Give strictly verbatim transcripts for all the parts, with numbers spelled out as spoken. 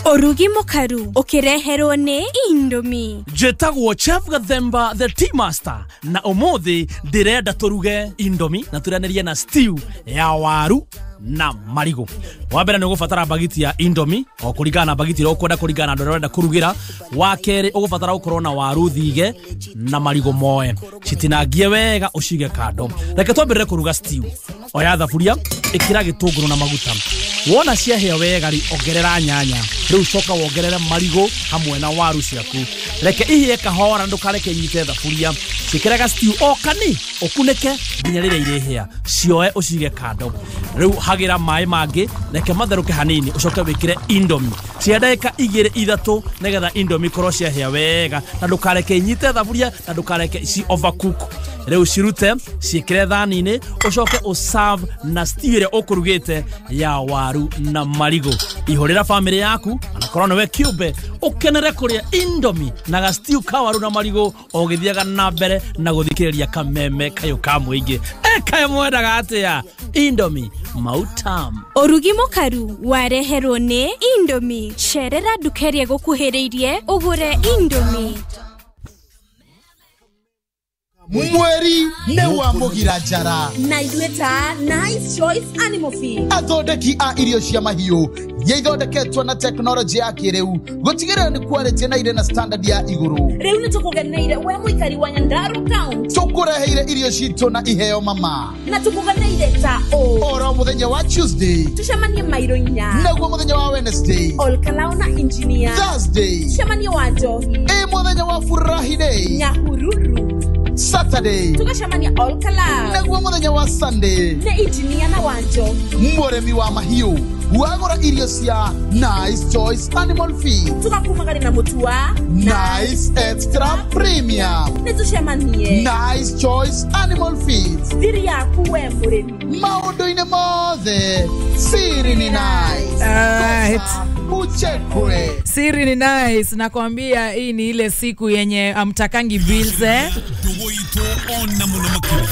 Ũrugi mũkaru ũkĩreherwo nĩ Indomie. Njĩtagwo Chef Gathemba the Tea Master, na ũmũthĩ ndĩrenda tũruge Indomie na tũrĩanĩrie na stew ya waru na marigũ. Wa mbere nĩ ũgũbatara bagiti ya Indomie o kũringana na bagiti ĩrĩa ũkwenda, kũringana na andũ arĩa ũrenda kũrugĩra. Wa kerĩ ũgũbatara gũkorwo na waru thige na marigũ moe, citinangie wega ũcige kando. Reke twambĩrĩre kũruga stew. Oya thaburia, ĩkĩra gĩtũngũrũ na maguta. Wona ciahĩa wega rĩ, ongerera nyanya. Rĩu coka wongerere marigũ hamwe na waru ciaku. Reke ihĩe kahora, ndũkareke inyite thaburia. Ciĩkĩre ga stew o kani, ũkunĩke nginya rĩrĩa irĩhĩa. Cioe ũcige kando. Rĩu hagĩra maĩ mangĩ, reke matherũke hanini, ũcoke wĩkĩre Indomie. Cia ndagĩka igĩrĩ ithatũ, nĩgetha Indomie ikorwo ciahĩa wega, na ndũkareke inyite thaburia, na ndũkareke ci overcook. Rĩu cirute, ciĩkĩre thani-inĩ, ũcoke ũserve na stew ĩrĩa ũkũrugĩte ya waru na marigũ. Ihũrĩra bamĩrĩ yaku, anakorwo nĩwe kĩũmbe, ũkenere kũrĩa Indomie na ga stew ka waru na marigũ o ũgĩthiaga na mbere na gũthikĩrĩria kameme kayũ ka mũingĩ. E kaĩ mwendaga atĩa? Indomie mautam. Ũrugi mũkaru wareherwo nĩ Indomie. Cerera nduka ĩrĩa ĩgũkuhĩrĩirie ũgũre Indomie. Mweri nĩ wa mũgira njara. Na ithuĩ ta Nice Choice Animal Feed, athondeki a irio cia mahiũ iria ithondeketwo na tekinoronjĩ ya kĩrĩu gũtigĩrĩra nĩ quality na irĩ na standard ya igũrũ. Rĩu nĩ tũkũgeneire we mũikari wa Nyandarua County, tũkũreheire irio citũ na iheo mama, na tũkũgeneire ta ũ oro mũthenya wa Tuesday tũcemanie mairo inya, naguo mũthenya wa Wednesday Olkalao na engineer, Thursday tũcemanie wa Njohi, ĩ mũthenya wa Furahi Day Nyahururu, Saturday tũgacemania Olkalao, naguo mũthenya wa Sunday nĩ engineer na wa Njohi. Mũrĩmi wa mahiũ wagũra irio cia Nice Choice Animal Feed, tũgakumagari na mũtu wa Nice Extra Premium, nĩ tũcemanie Nice Choice Animal Feed, thiri yaku we mũrĩmi, maũndũ-inĩ mothe siri ni nice. Alright. Uchekwe. Siri ni nice, nakwambia hii ni ile siku yenye amtakangi bills eh. Tugoito ona muno makuru.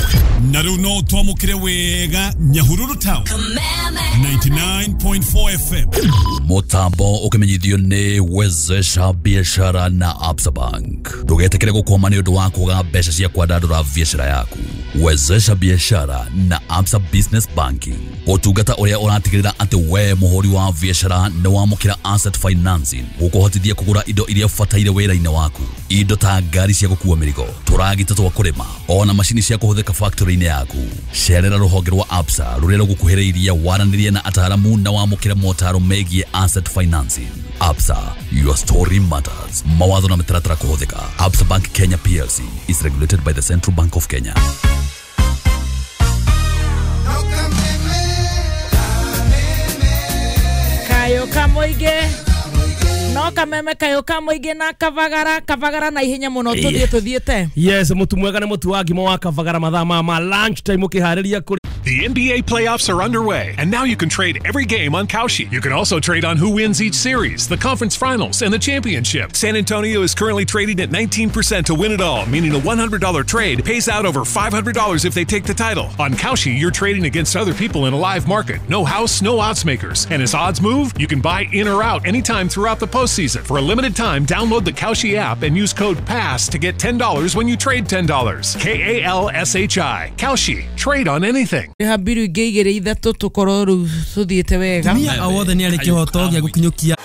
Na rĩu no twamũkĩre wega Nyahururu Town ninety-nine point four F M. Mutambo ũkĩmenyithio nĩ Wezesha Biashara na Absa Bank. Ndũgetĩkĩre gũkwama nĩ ũndũ wa kwaga mbeca cia kwandandũra biashara yaku. Wezesha Biashara na Absa Business Banking, ũtungata ũrĩa ũratigĩrĩra atĩ we mũhũri wa biashara nĩ wamũkĩra asset financing gũkũhotithia kũgũra indo iria ũbataire wĩra-inĩ waku, indo ta ngari cia gũkua mĩrigo, tũragita twa kũrĩma, ona macini cia kũhũthĩka factory-inĩ yaku. Cerera rũhonge rwa Absa rũrĩa rũgũkuhĩrĩirie, waranĩrie na ataaramu na wamũkĩre motaro megiĩ asset financing. Absa, your story matters. Mawatho na mĩtaratara kũhũthĩka. Absa Bank Kenya P L C is regulated by the Central Bank of Kenya. Kayo kamoige no kameme kayo kamoige na kavagara kavagara na ihenya muno tuthie tuthiete. Yes, mutu mwega na mutu wa ngimo wa kavagara mathaa ma ma lunch time ukihariria kuri. The N B A playoffs are underway, and now you can trade every game on Kalshi. You can also trade on who wins each series, the conference finals, and the championship. San Antonio is currently trading at nineteen percent to win it all, meaning a one hundred dollar trade pays out over five hundred dollars if they take the title. On Kalshi, you're trading against other people in a live market. No house, no odds makers. And as odds move, you can buy in or out anytime throughout the postseason. For a limited time, download the Kalshi app and use code PASS to get ten dollars when you trade ten dollars. K A L S H I. Kalshi. Trade on anything. Habiru ingĩ igĩrĩ ithatũ tũkorwo rĩu tũthiĩte wega. Atumia othe nĩ arĩ kĩhoto gĩa gũkinyũkia.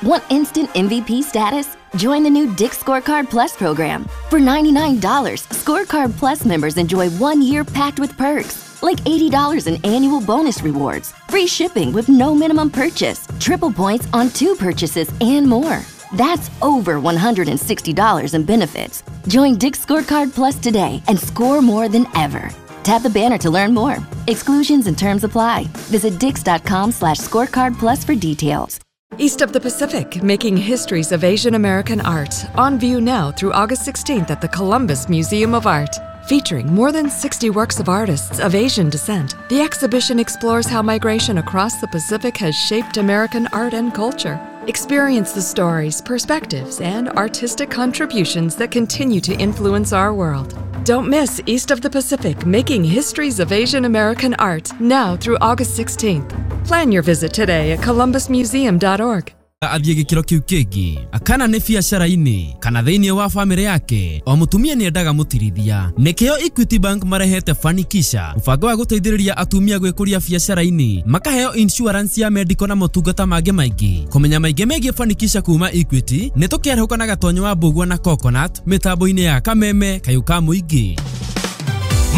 Want instant M V P status? Join the new Dick's Scorecard Plus program. For ninety-nine dollars, Scorecard Plus members enjoy one year packed with perks, like eighty dollars in annual bonus rewards, free shipping with no minimum purchase, triple points on two purchases, and more. That's over one hundred sixty dollars in benefits. Join Dick's Scorecard Plus today and score more than ever. Tap the banner to learn more. Exclusions and terms apply. Visit dicks.com slash scorecard plus for details. East of the Pacific, making histories of Asian American art. On view now through August sixteenth at the Columbus Museum of Art. Featuring more than sixty works of artists of Asian descent, the exhibition explores how migration across the Pacific has shaped American art and culture. Experience the stories, perspectives, and artistic contributions that continue to influence our world. Don't miss East of the Pacific, Making Histories of Asian American Art, now through August sixteenth. Plan your visit today at columbus museum dot org. Athiĩ gĩkĩro kĩu kĩngĩ akana nĩ biacara-inĩ kana thĩinĩ wa bamĩrĩ yake o mũtumia nĩ endaga mũtirithia. Nĩkĩo Equity Bank marehete Fanikisha, mũbango wa gũteithĩrĩria atumia gwĩkũria biacara-inĩ, makaheo insurance ya medical na motungata mangĩ maingĩ. Kũmenya maingĩ megiĩ Fanikisha kuma Equity nĩ tũkĩarahũka na Gatonyo wa Mbũgua na Coconut mĩtambo-inĩ ya Kameme Kayũ ka Mũingĩ.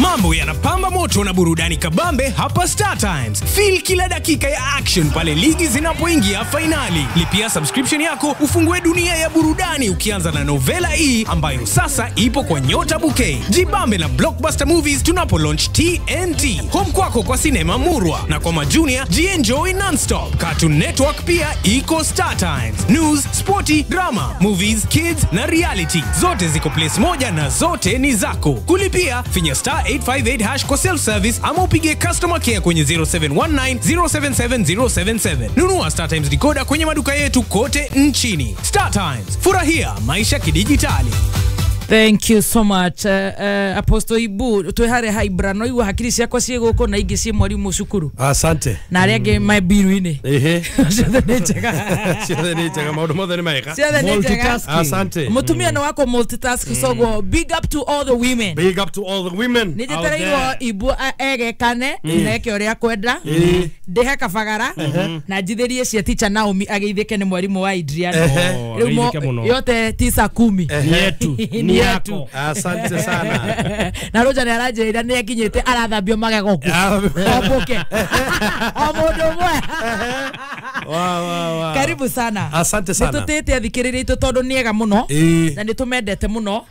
Mambo yanapamba moto na burudani kabambe hapa Star Times. Feel kila dakika ya action pale ligi zinapoingia fainali. Lipia subscription yako ufungue dunia ya burudani ukianza na Novela E ambayo sasa ipo kwa Nyota Bouquet. Jibambe na Blockbuster Movies tunapo launch T N T. Home kwako kwa sinema murwa na kwa majunia jienjoy nonstop. Cartoon Network pia iko Star Times. News, sporty, drama, movies, kids na reality. Zote ziko place moja na zote ni zako. Kulipia finya star eight five eight hash kwa self-service ama upige customer care kwenye zero seven one nine zero seven seven zero seven seven. Nunua Star Times decoder kwenye maduka yetu kote nchini. Star Times, furahia maisha kidijitali. Thank you so much uh, uh, Apostle Ibu twehare haibra no iwa hakiri ciakwa ciĩ gũkũ na ingĩ ciĩ mwarimu cukuru. Asante. Na arĩa angĩ me mbiru-inĩ. Ehe. Ciothe nĩ njega. Ciothe nĩ njega, maũndũ mothe nĩ mega. Ciothe nĩ njega. Asante. Mũtumia nĩ wako multitask, sogo big up to all the women. Big up to all the women. Nĩ njetereirwo Ibu egekane na eke ũrĩa kwenda. Ndĩhe kabagara na njithĩrie cia teacher Naomi ageithĩke nĩ mwarimu wa Adriano. Rĩu yote tisa kumi. Yetu. Yako. Asante sana. Na Roja nĩ aranjĩrĩra nĩ akinyĩte arathambio magego ku. Omboke. O mũndũ ũmwe. Wa wa wa. Karibu sana. Asante sana. Nĩ tũtĩte athikĩrĩria itũ tondũ nĩ ega mũno na nĩ tũmendete mũno.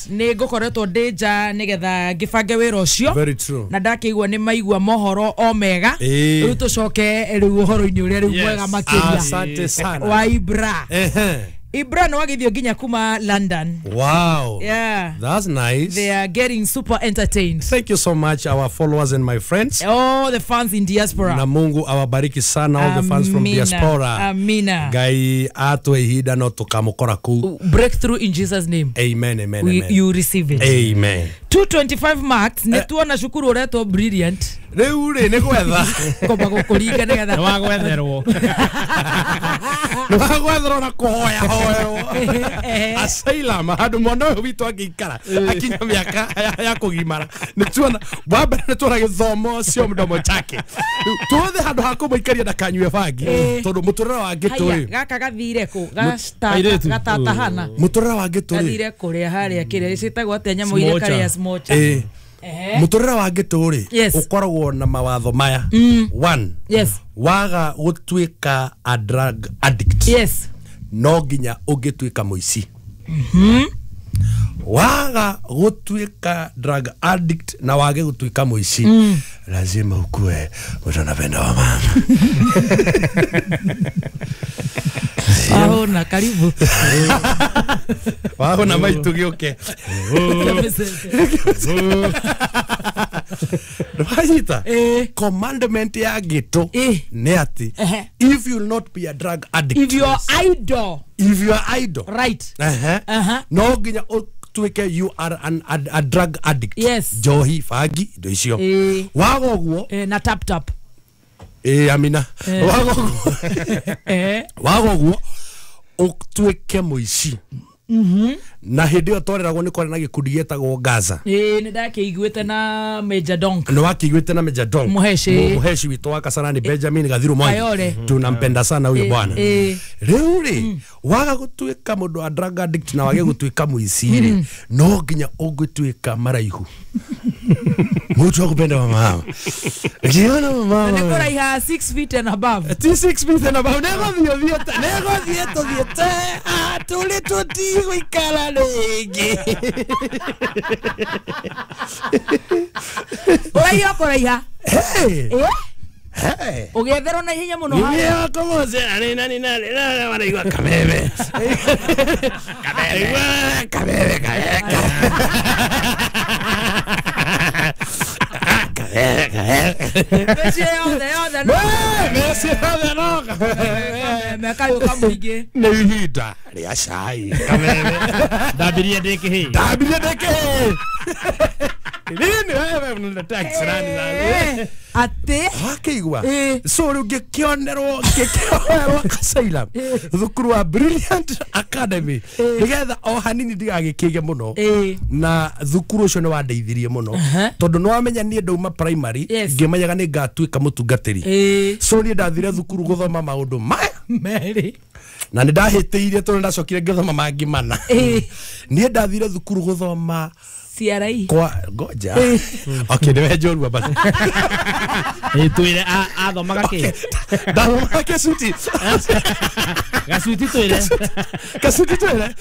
Nĩ ngũkoretwo ndĩ nja nĩgetha ngĩbange wĩra ũcio. Very true. Na ndakĩigua nĩ maigua mohoro o mega. Rĩu tũcoke rĩu ũhoro-inĩ ũrĩa rĩu mwega makĩria. Asante sana. Wa Ibra. Ehe. Ibra no wagithio nginya kuma London. Wow. Yeah. That's nice. They are getting super entertained. Thank you so much our followers and my friends. All the fans in diaspora. Na Mungu awabariki sana all the fans from diaspora. Amina. Ngai atwe ihinda no tukamukora ku. Breakthrough in Jesus name. Amen, amen, We, amen. You receive it. Amen. two twenty-five marks nĩ tuona cukuru ũretwo brilliant. Rĩu rĩ nĩ gwetha. Komba gũkũringa nĩgetha. Nĩ wagwetherwo. Nĩ wagwetherwo na kũhoya hoerwo. Asylum handũ mwana ũyũ witũ angĩikara akinya mĩaka ya kũgimara. Nĩ tuona wambere nĩ tuona gĩthomo cio mdomo chake. Tuothe handũ ha kũmũikaria ndakanyue bangi tondũ mũtũrĩre wa ngĩtũ rĩ. Gaka gathire kũ? Gatatahana. Mũtũrĩre wa ngĩtũ rĩ. Gathire kũrĩa harĩa kĩrĩa cĩtagwo atĩa nyamũ iria karĩa smocha. Eh. Mũtũrĩre wa ngĩtũ rĩ ũkoragwo na mawatho maya. One. Yes. Waga gũtuĩka a drug addict. Yes. No nginya ũngĩtuĩka mũici. Mhm. Waga gũtuĩka drug addict na wage gũtuĩka mũici. Mm. Lazima ukue mtu anapenda wa mama. Ahona karibu. Wahona maitu gĩũke. Ndwanyita. Commandment ya gĩtũ nĩ atĩ if you will not be a drug addict. If you are idle. If you are idle. Right. Uh-huh. Uh-huh. No nginya ũtuĩke you are an, a, a drug addict. Yes. Njohi, bangi, indo icio. Waga ũguo. Na tap tap. Eh, Amina. Waga ũguo. Eh. Waga ũguo ũtuĩke mũici. Mhm. Na hĩndĩ ĩyo twareragwo nĩ kwarĩ na gĩkundi gĩetagwo Gaza. Ĩĩ nĩ ndakĩiguĩte na Major Donk. Nĩ wakĩiguĩte na Major Donk. Mũheci. Mũheci witũ wa Kasarani Benjamin Gathiru Mwangi. Tunampenda sana huyo bwana. Rĩu rĩ waga gũtuĩka mũndũ wa drug addict na wage gũtuĩka mũici rĩ no nginya ũngĩtuĩka maraihu. Mtu akupenda mama. Ukiona mama. Nĩ kũraiha six feet and above. Ti six feet and above. Nego thiĩ thiĩte. Nego thiĩ tũthiĩte. Ah, tũrĩ tũtigũikara rĩngĩ. Ũraiha kũraiha. Hey. Eh? Hey. Ũgĩetherwo na ihenya mũno harĩa. Niĩ kũmũcera nĩ nani nani nani maraigua kameme. Kameme. Kameme kameme. Mĩciĩ yothe yothe no. Mĩciĩ yothe no. Kameme kayũ kamũingĩ. Nĩ ihinda rĩa cai. Kameme. Ndambirie ndĩ kĩhĩĩ. Ndambirie ndĩ kĩhĩĩ. Nini wewe unaletea kisirani sasa? Ate wakeigua so rĩu ngĩkĩonerwo ngĩkĩoerwo Asylum thukuru wa Brilliant Academy nĩgetha o hanini ndigagĩkĩge mũno na thukuru ũcio nĩ wandeithirie mũno tondũ nĩ wamenya niĩ ndauma primary ngĩmenyaga nĩ ngatuĩka mũtungatĩri so niĩ ndathire thukuru gũthoma maũndũ maya merĩ na nĩ ndahĩtĩirie tondũ ndacokire ngĩthoma mangĩ mana niĩ ndathire thukuru gũthoma C R I kwa ngoja okay nĩ njorua basi eh twire athomaga kĩ ndathomaga kĩcuti gacuti twire gacuti twire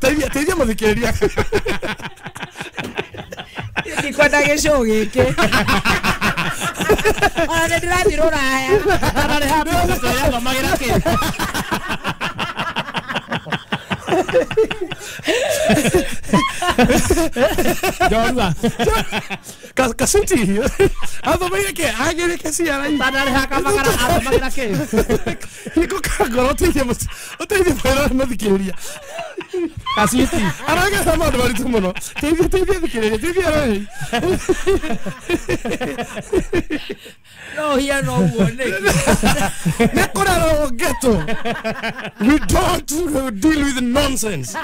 teithia teithia mũthikĩrĩria ndikwenda gĩcũ gĩkĩ ona nĩ ndĩrathiĩ rũraya ararĩ hapo athomagĩra kĩ Jorua Kasuti athomaire kĩ agĩrĩ ke C R I tanarĩ hakabagara athomagĩra kĩ nĩko kangoro ũteithie ũteithie mwĩrore mũthikĩrĩria Kasuti aragetha maũndũ maritũ mũno teithie teithie thikĩrĩria teithie arori no hiya no ũguo nĩkĩ nĩ kũrerwo ghetto we don't deal with nonsense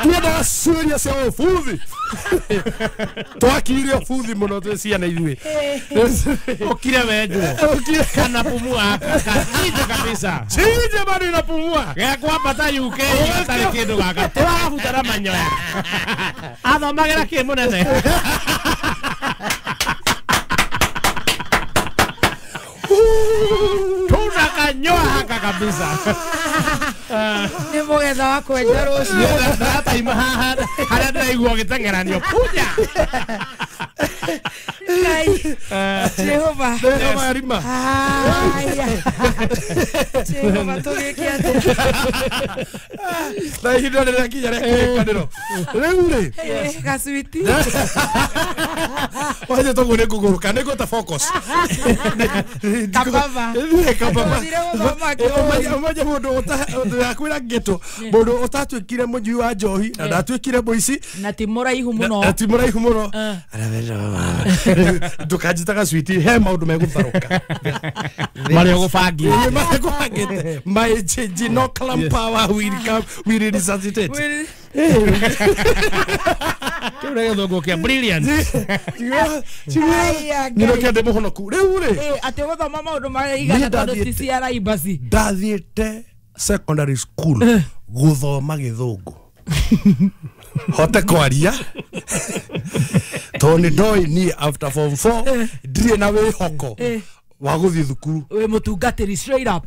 tuendaga ciũria cia ũbuthi twakire ũbuthi mũno twĩ ciana ithuĩ ũkire wenjwo kana pumua kachinje kabisa chinje bado inapumua gekwambata U K gatarĩ kĩndũ gaka tũrabutana manyoya athomagĩra kĩ mũnene tunakanyoa haka kabisa nĩ mũgetha wa kwenja rũciũ ndataima haha harĩa ndĩraigua ũgĩteng'eranio punya Ngai Jehova Jehova arima haya Jehova tũgĩke atĩa na ihinda rĩrakinya rĩa kĩrĩkanĩro rĩu rĩ gacwiti waje toguo nĩ ngũgũrũka nĩ ngũta focus kababa kababa ũmenye mũndũ ũtakwĩra ghetto mũndũ ũtatuĩkire mũnyui wa njohi na ndatuĩkire mũici na ti mũraihu mũno na ti mũraihu mũno ndũkanjĩtaga switi he maũndũ megũtharũka marĩa ũgũbangĩte marĩa ngũbangĩte my genoclam power will come will resuscitate kĩu nĩ gĩthũngũ kĩa brilliant nĩ kĩndĩ mũhonoku rĩu rĩ atĩ ũgũthoma maũndũ marĩa tondũ ti C R I basi ndathiĩte secondary school gũthoma gĩthũngũ hote kwaria tondũ nĩ ndoĩ niĩ after form four ndirĩ na wĩhoko wa gũthiĩ thukuru wĩ mũtungatĩri straight up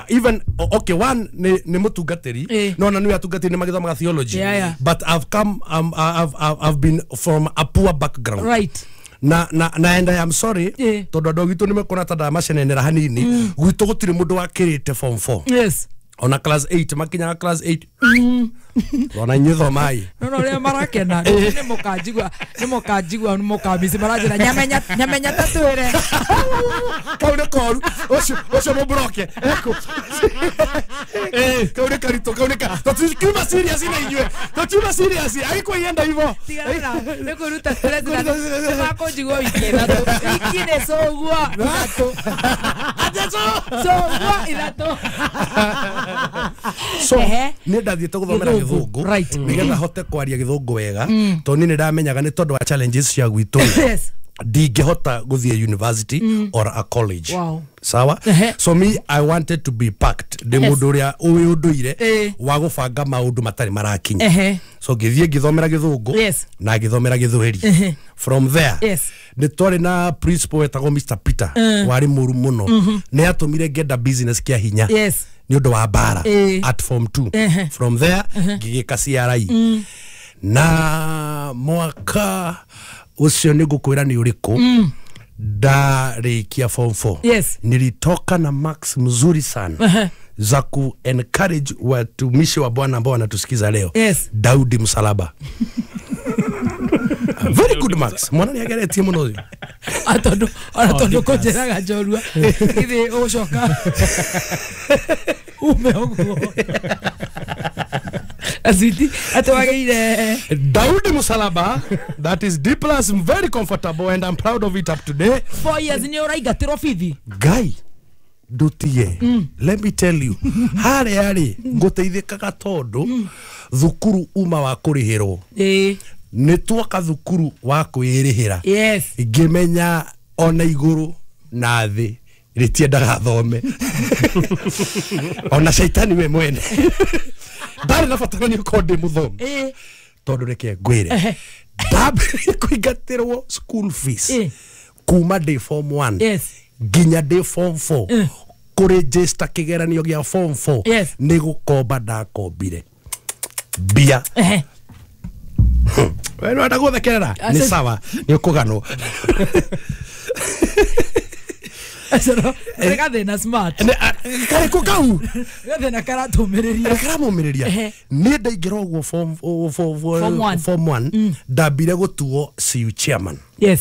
even okay one ni ni mutungatiri no na ni atungatiri ni magithomaga theology yeah, yeah. But I've come um, I've, I've I've been from a poor background, right? Na na na and I am sorry tondu andu gitu ni mekona ta ndamacenenera hanini gwitu gutiri mundu wakirite form four. Yes, ona class eight makinyaga class eight ona inyuĩ thomai no no rĩa marakena nĩ mũkanjigua nĩ mũkanjigua nĩ mũkamisi maranjĩra nyamenya nyamenya ta twĩre kau nĩ koru ũcio ũcio mũbroke eko kau nĩ karitũ kau nĩ ka tũtikiuma serious na inyuĩ tũtiuma serious agĩkwĩyenda hivo tigana nĩ kũruta stress na nĩ makũnjigua wiki ithatũ wiki nĩ cũguo ithatũ cũguo ithatũ so nĩ ndathiĩte gũthomera gĩthũngũ nĩgetha hote kwaria gĩthũngũ wega tondũ niĩ nĩ ndamenyaga nĩ tondũ wa challenges cia gwitũ ndingĩhota gũthiĩ university mm. or a college. Wow. Sawa? So me, I wanted to be packed. Ndĩ mũndũ ũrĩa ũĩ ũndũire wa gũbanga maũndũ matarĩ marakinya. So ngĩthiĩ ngĩthomera gĩthũngũ na ngĩthomera gĩthweri. From there, yes, nĩ twarĩ na principal wetagwo Mister Peter warĩ mũru mũno. Nĩ atũmire ngenda business kĩa hinya. Yes. Nĩ ũndũ wa mbara at form two. From there ngĩgĩka C R I. Na mwaka ucio nĩ ngũkwĩra nĩ ũrĩkũ ndarĩkia form four. Yes. Nilitoka na marks mzuri sana uh -huh. za ku encourage watumishi wa Bwana ambao wanatusikiza leo. Yes. Daudi Msalaba. Very good marks. Mwana ni ageretie muno uyu. Atondu ona tondu kunjiraga njorua githi ucoka ume uguo. Aziti atwagire Daudi Musalaba, that is D plus. I'm very comfortable and I'm proud of it up today. Four years ni uraingatirwo bithi. Guy ndutie mm. Let me tell you haria ri nguteithikaga tondu mm. thukuru uma wa kurihirwo eh ni twaka thukuru wa kwirihira. Yes, ngimenya ona iguru na thi ritiendaga thome ona shaitani we mwene ndari na bata ni ukorwo ndi muthomu eh tondu reke ngwire ndambĩrĩirie kũingatĩrwo school fees kuma ndĩ form one. Yes, nginya ndĩ form four kũrĩnjĩsta kĩgeranio gĩa form four. Yes, nĩ gũkomba ndakombire mbia. We nĩwenda gũthekerera nĩ sawa nĩ ũkũganwo. Nĩ gathĩna smart karĩkũ kau gathĩna karatũmĩrĩria karamũmĩrĩria. Niĩ ndaingĩra ũguo form one ndambire gũtuo C U chairman. Yes,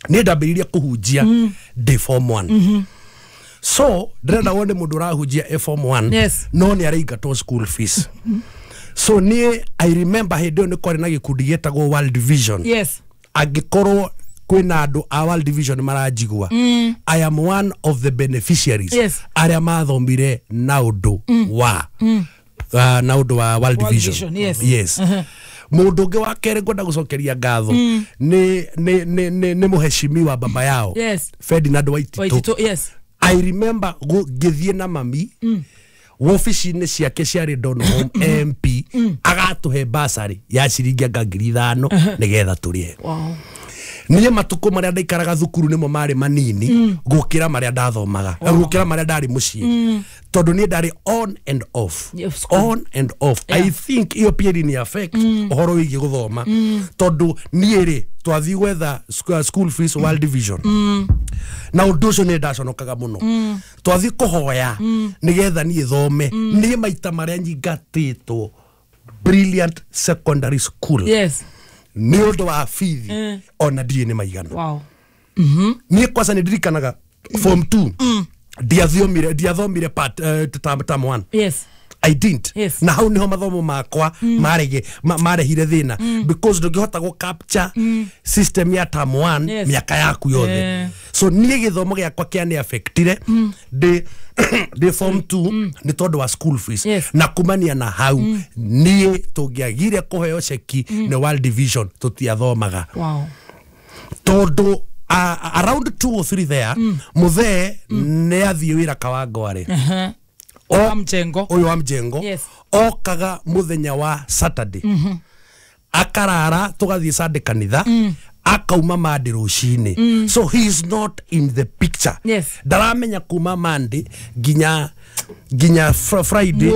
niĩ ndambĩrĩirie kũhunjia ndĩ form one. So ndĩrenda wone mũndũ ũrahunjia e form one. Yes, no nĩ araingatwo school fees. So niĩ I remember hĩndĩ ĩyo nĩ kwarĩ na gĩkundi gĩetagwo World Vision. Yes, angĩkorwo kwĩna andũ a World Vision maranjigua, I am one of the beneficiaries. Yes, arĩa mathomire na ũndũ wa na ũndũ wa World Vision. Yes, yes. Mũndũ ũngĩ wa kerĩ ngwenda gũcokeria ngatho nĩ nĩ nĩ nĩ mũheshimiwa baba yao. Yes, Ferdinand Waititũ. Waititũ, yes. I remember ngĩthiĩ na mami wobici-inĩ ciake ciarĩ Donholm M P agatũhe basarĩ ya ciringi anga ngiri ithano nĩgetha tũrĩe. Wow. Niĩ matukũ marĩa ndaikaraga thukuru nĩmo marĩ manini gũkĩra marĩa ndathomaga, gũkĩra marĩa ndarĩ mũciĩ, tondũ niĩ ndarĩ on and off, on and off. I think iyo pia ni affect ũhoro wĩgiĩ gũthoma, tondũ niĩ rĩ twathiĩ gwetha school fees World Vision na ũndũ ũcio nĩ ndaconokaga mũno. Twathiĩ kũhoya nĩgetha niĩ thome, niĩ maita marĩa nyingatĩtwo Brilliant Secondary School. Yes, nĩ ũndũ wa bithi ona ndirĩ nĩ maigana. Wow. Niĩ kwanza nĩ ndirikanaga form two ndiathomire ndiathomire part term term one. Yes, I didn't. Yes. Na hau niho mathomo makwa marege marehire thina because ndũngĩhota gũ capture system ya term one Yes. miaka yaku yothe. Yeah. So niĩ gĩthomo gĩakwa kĩa affectire ndĩ ndĩ form two nĩ tondũ wa school fees. Yes. Na kumania na hau niĩ tũngĩagire kũheo ceki nĩ World Vision tũtiathomaga. Wow. Tondũ uh, around two or three there muthee nĩ athiĩ wĩra Kawangware. Uh-huh. Wa mjengo ũyũ wa mjengo. Yes. Okaga muthenya wa Saturday akarara tugathiĩ Sunday kanitha akauma Monday rũcinĩ. So he is not in the picture. Yes. Ndaramenya kuma Monday nginya nginya Friday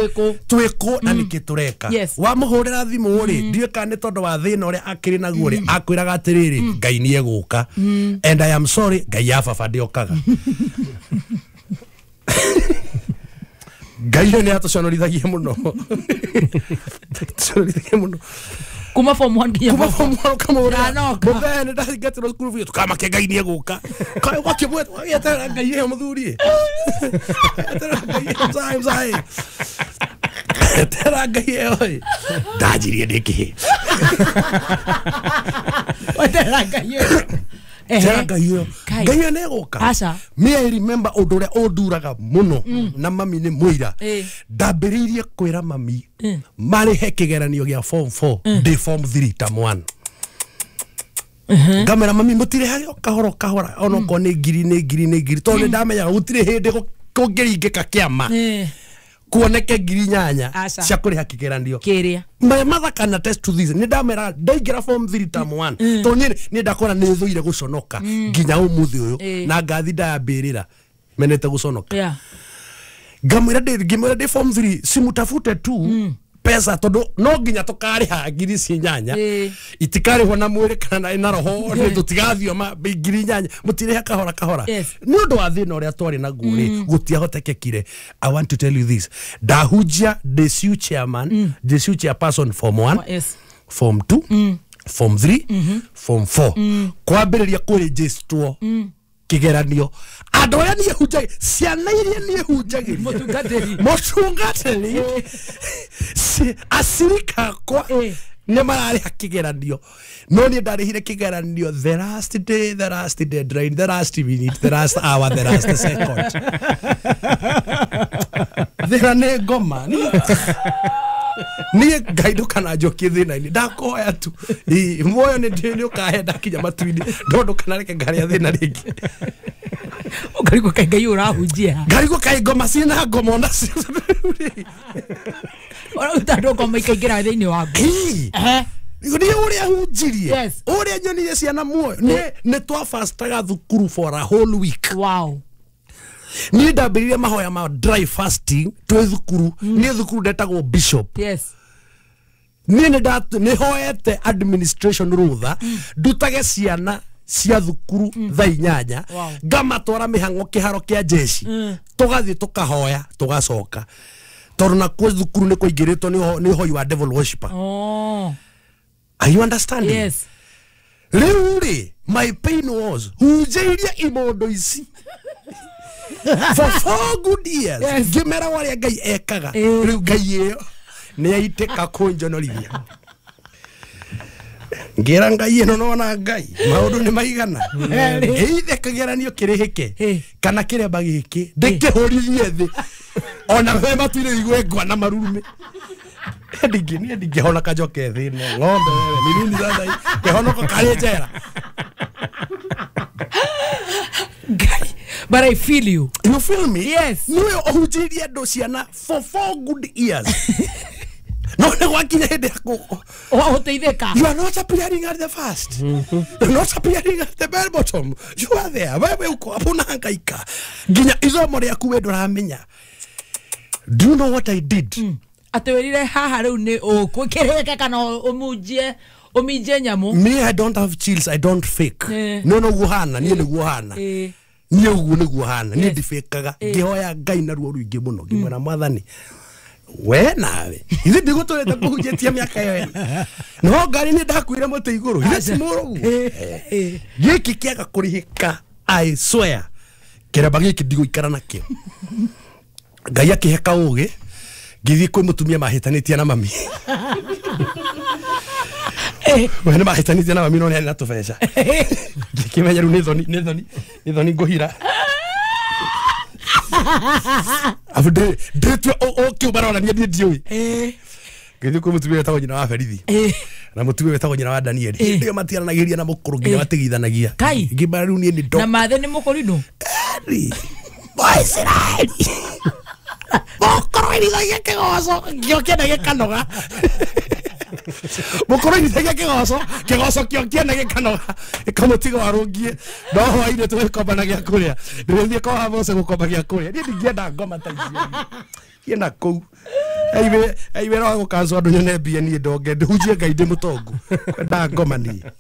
twĩkũ na nĩkĩ tũreka. Yes. Wamũhũrĩra thimũ rĩ ndiũĩ kana nĩ tondũ wa thĩna ũrĩa akĩrĩ naguo rĩ akwĩraga atĩrĩrĩ Ngai nĩ egũka and I am sorry Ngai ya baba ndĩokaga. Ngai nĩ atũconorithagia mũno. Tũconorithagia mũno. Kuma form one nginya kuma form one kamũra. Mũthee nĩ ndaingatirwo cukuru biũ tũkamake Ngai nĩ egũka. Kaĩ ũgakĩmwĩra ũgĩeterera Ngai ĩyo mũthuri. Eterera Ngai ĩyo mzae mzae. Eterera Ngai ĩyo ĩ. Ndanjirie ndĩ kĩhĩ. Eterera Ngai ĩyo. Eterera Ngai ĩyo. Ngai ĩyo nĩ egũka. Aca. Me I remember ũndũ ũrĩa ũnduraga mũno na mami nĩ mũira. Ndambĩrĩirie kwĩra mami marĩhe kĩgeranio gĩa form four ndĩ form three term one. Ngamera mami mũtirĩhage o kahora kahora ona okorwo nĩ ngiri nĩ ngiri nĩ ngiri tondũ nĩ ndamenyaga gũtirĩ hĩndĩ kũngĩringĩka kĩama kuoneke ngiri nyanya cia kũrĩha kĩgeranio kĩrĩa. My mother can attest to this. Nĩ ndamera ndaingĩra form three term one tondũ niĩ nĩ ndakora nĩ thũire gũconoka nginya ũmũthĩ ũyũ na ngathi ndayambĩrĩra menete gũconoka. Yeah. Ngamwĩra ndĩ ngĩmwĩra ndĩ form three simutafute tu pesa tondũ no nginya tũkarĩha ngiri ici inyanya itikarĩhwo na mwĩrĩ kana na roho nĩ tũtigathioma ngiri inyanya mũtirĩhe kahora kahora. Nĩ ũndũ wa thĩna ũrĩa twarĩ naguo rĩ gũtiahotekekire. I want to tell you this. Ndahunjia ndĩ C U chairman, ndĩ C U chairperson form one, form two, form three, form four. Kwambĩrĩria kũrĩnjĩstwo kĩgeranio andũ arĩa niĩ hunjagĩria ciana iria niĩ hunjagĩria mũtungatĩri mũtungatĩri Acirika akwa nä mararä ha kä geranio no niä ndarä hire kä geranio the last day, the last deadline, the last minute, the last hour, the last second. Thä nä ngoma niä ngai ndå kana njokie thä na-inä ndakoya tu muoyo nä nä å kahe ndakinya matu-inä no ndå kanareke ngarä a thä na rä ngä. Ũkarigwo kaĩ Ngai ũrahunjia. Ngarigwo kaĩ ngoma ciĩna ngoma onacio. Ũraruta andũ ngoma ikaingĩra thĩinĩ waku. Nĩ ũrĩa hunjirie. Ũrĩa nyonire ciana muoyo. Nĩ twabastaga thukuru for a whole week. Wow. Niĩ ndambĩrĩirie mahoya ma dry fasting twĩ thukuru. Niĩ thukuru ndetagwo bishop. Yes. Niĩ nĩ hoete administration rũtha ndutage ciana cia thukuru thaa inyanya ngamatwara mĩhang'o kĩharo kĩa jeshi tũgathiĩ tũkahoya tũgacoka tondũ nakuo thukuru nĩ kũingĩrĩtwo nĩ ũhoi wa devil worshipper. Oh. Are you understanding? Yes. Rĩu rĩ my pain was hunjĩirie imondo ici for four good years ngĩmera ũrĩa Ngai ekaga rĩu Ngai ĩyo nĩ yaitĩka kũnjonorithia. Ngira Ngai ĩno nona Ngai maũndũ nĩ maigana ĩithe kĩgeranio kĩrĩhĩke kana kĩremba gĩkĩ ndĩkĩhũrithie thĩ ona we matuire igue ngwa na marurume ndingĩ niĩ ndingĩhonoka njoke thĩ ĩno ng'ombe wewe ni nini sasa hii kĩhonoko karĩ njera. Ngai, but I feel you. You feel me? Yes. Niwe ũhunjĩirie andũ ciana for four good years. No nĩ gwakinya hĩndĩ ya gũteithĩka. You are not appearing at the first. You are not appearing at the bell bottom. You are there. Wewe uko hapo unahangaika. Nginya isomo rĩaku we ndũramenya. Do you know what I did? Atĩ wĩrire haha rĩu nĩ ũkũkĩrĩke kana ũmunjie ũminjie nyamũ. Me, I don't have chills. I don't fake. No no guo hana, niĩ nĩguo hana. Niĩ ũguo nĩguo hana. Niĩ ndifĩkaga. Ngĩhoya Ngai na ruo rũingĩ mũno ngĩmwĩra Mwathani we nawe ithe ndigũtũrĩte kũhunjĩtie mĩaka ĩyo ĩna no ngari nĩ ndakuire mũtĩ igũrũ ithe ti mũrũgu gĩkĩ kĩaga kũrĩhĩka I swear kĩremba gĩkĩ ndigũikara nakĩo. Ngai akĩhe kaũgĩ ngĩthiĩ kwĩ mũtumia mahĩtanĩtie na mami. We nĩ mahĩtanĩtie na mami no nĩ arĩ na tũbeca ngĩkĩmenya rĩu nĩ thoni nĩ thoni nĩ thoni ngũhira. Abu ndä ndä å barona niä ndiä ndiå ngä thiä kwä må tumia wetagwo nyina wa Berithi na må tumia wetagwo nyina wa Danieli hä ndä ä yo matiaranagä ria na må kå rå nginya matigithanagia ngä mara rä u niä nä na mathe nä må kå rinå Moisiraeli må inithagia kä goco kä o kä ene gä kanoga må kå inithagia kä goco kä goco kä o kä ene gä kanoga gä kamå tiga warå ngie no hwainä tå gä komba gä a kå rä a ndä rä thiä koha mose gå komba gä a kå rä a niä ndingĩenda ngoma ta icio niĩ na kũu aiwä ra wa gå kancwo andå nyone mbia niä ndonge ndä hunjie Ngai ndä må tongu kwenda ngoma niä.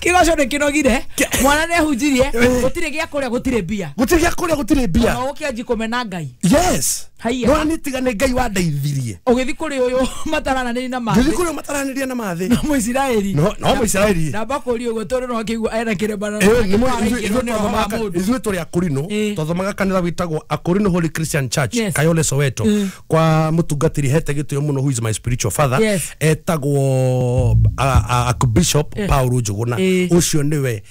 Kĩgoco nĩ kĩnogire mwana nĩ ahunjirie gũtirĩ gĩa kũrĩa gũtirĩ mbia gũtirĩ gĩa kũrĩa gũtirĩ mbia no ũkĩanji kũmena Ngai. Yes. Haiya no nĩ tiga nĩ Ngai wandeithirie ũgĩthiĩ kũrĩ ũyũ matarananĩria na mathĩ ngĩthiĩ kũrĩ ũyũ mataranĩria na mathĩ no Mũisiraeli no no Mũisiraeli ndamba kũria ũguo tondũ no akĩigua ena kĩremba na ithuĩ tũrĩ Akũrinũ twathomaga kanitha wĩtagwo Akũrinũ Holy Christian Church Kayole Soweto kwa mũtungatĩri hete gĩtĩo mũno who is my spiritual father etagwo Archbishop Paul Njuguna ucio niwe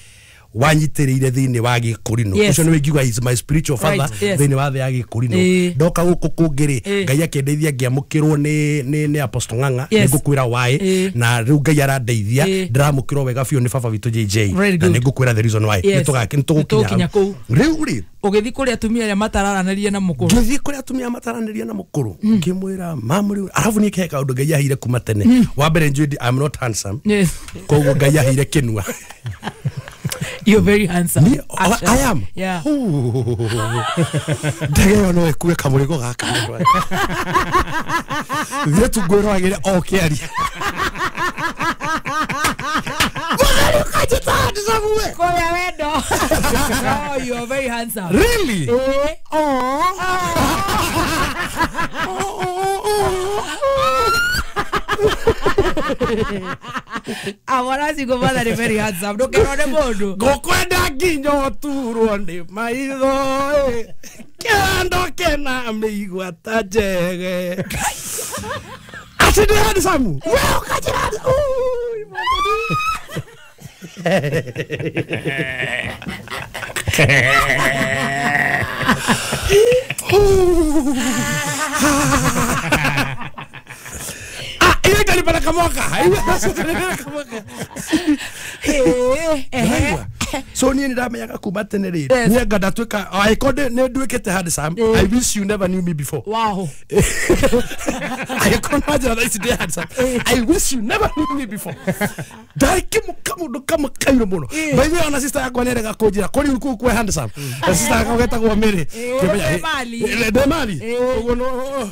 wanyitĩrĩire thĩinĩ wa gĩkũrinũ ũcio nĩwe ingiuga is my spiritual father thĩinĩ wa thĩ ya gĩkũrinũ ndoka gũkũ kũngĩ rĩ Ngai akĩndeithia ngĩamũkĩrwo nĩ nĩ nĩ Apostle Ng'ang'a nĩ ngũkwĩra why na rĩu Ngai arandeithia ndĩramũkĩrwo wega biũ nĩ baba witũ J J na nĩ ngũkwĩra the reason why nĩ tũgũkinya kũu rĩu rĩ ũgĩthiĩ kũrĩ atumia arĩa matararanĩria na mũkũrũ ngĩthiĩ kũrĩ atumia mataranĩria na mũkũrũ ngĩmwĩra mamu rĩu arabu niĩ kĩhe kaũndũ Ngai aheire kuma tene wa mbere njũĩ I'm not handsome koguo Ngai aheire kĩnua. You're very handsome. Me, oh, I am. Yeah. Ndege ĩyo no ĩkue kamũrigo gaka. Thiĩ tu ngwĩroragĩre o ũkĩaria. Kũrĩa wendo. Oh, you are very handsome. Really? Eh. Oh. Amwana single mother ni very handsome. Ndũkerwo nĩ mũndũ. Ngũkwenda nginya ũturwo nĩ maitho. Kĩhando kĩna mĩigua ta njege. Atĩ ndĩ handsome. We ũkanjĩra ui, Ah, ile itanipeleka mwaka. Itanipeleka mwaka. So niĩ nĩndamenyaga kuma tene rĩ niĩ anga ndatuĩka angĩkorwo nĩ nduĩkĩte handsome, I wish you never knew me before. Wow. Angĩkorwo no njĩra thaa ici ndĩ handsome, I wish you never knew me before. Ndarĩ kĩmũka mũndũ kamwe kairũ mũno. By the way, ona sister yakwa nĩarega kũnjĩra kũrĩ kũu kwĩ handsome. Na sister yakwa getagwo Mary. Ndĩ mali. Ndĩ mali. Ũguo no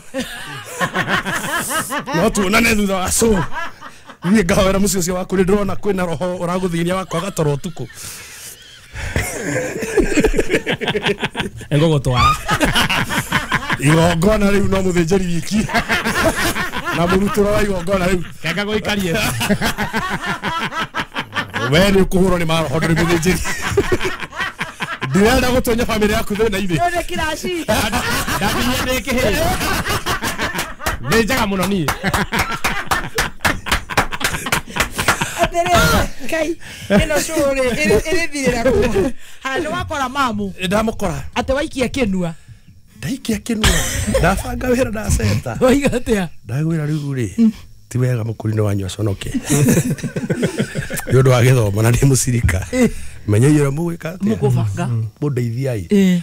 no tuonane thutha wa so niĩ ngahoera mũciĩ ũcio waku nĩ ndĩrona kwĩna roho ũragũthĩnia wa kwaga toro ũtukũ. Ngũgũtwara igongona rĩu no mũthĩnjĩri wiki na mũrutĩro wa igongona rĩu keka gũikarie we nĩ ũkũhũrwo nĩ maroho ndũrĩ mũthĩnjĩri. Ndirenda gũtonya bamĩrĩ yaku thĩna-inĩ. Nĩ kĩraci. Ndakinyia ndĩ kĩhĩĩ. Nĩ njega mũno niĩ. Kai ĩno show rĩ ĩrĩthirĩra kũ ha nĩ wakora mamu ndamũkora atĩ waikia kĩnua ndaikia kĩnua ndabanga wĩra ndaceta waiga atĩa ndagwĩra rĩu rĩ ti wega mũkũrinĩ wanyu aconoke nĩ ũndũ wa gĩthomo na ndĩ mũcirika menyei ũrĩa mũgwĩka atĩa mũkũbanga mũndeithiai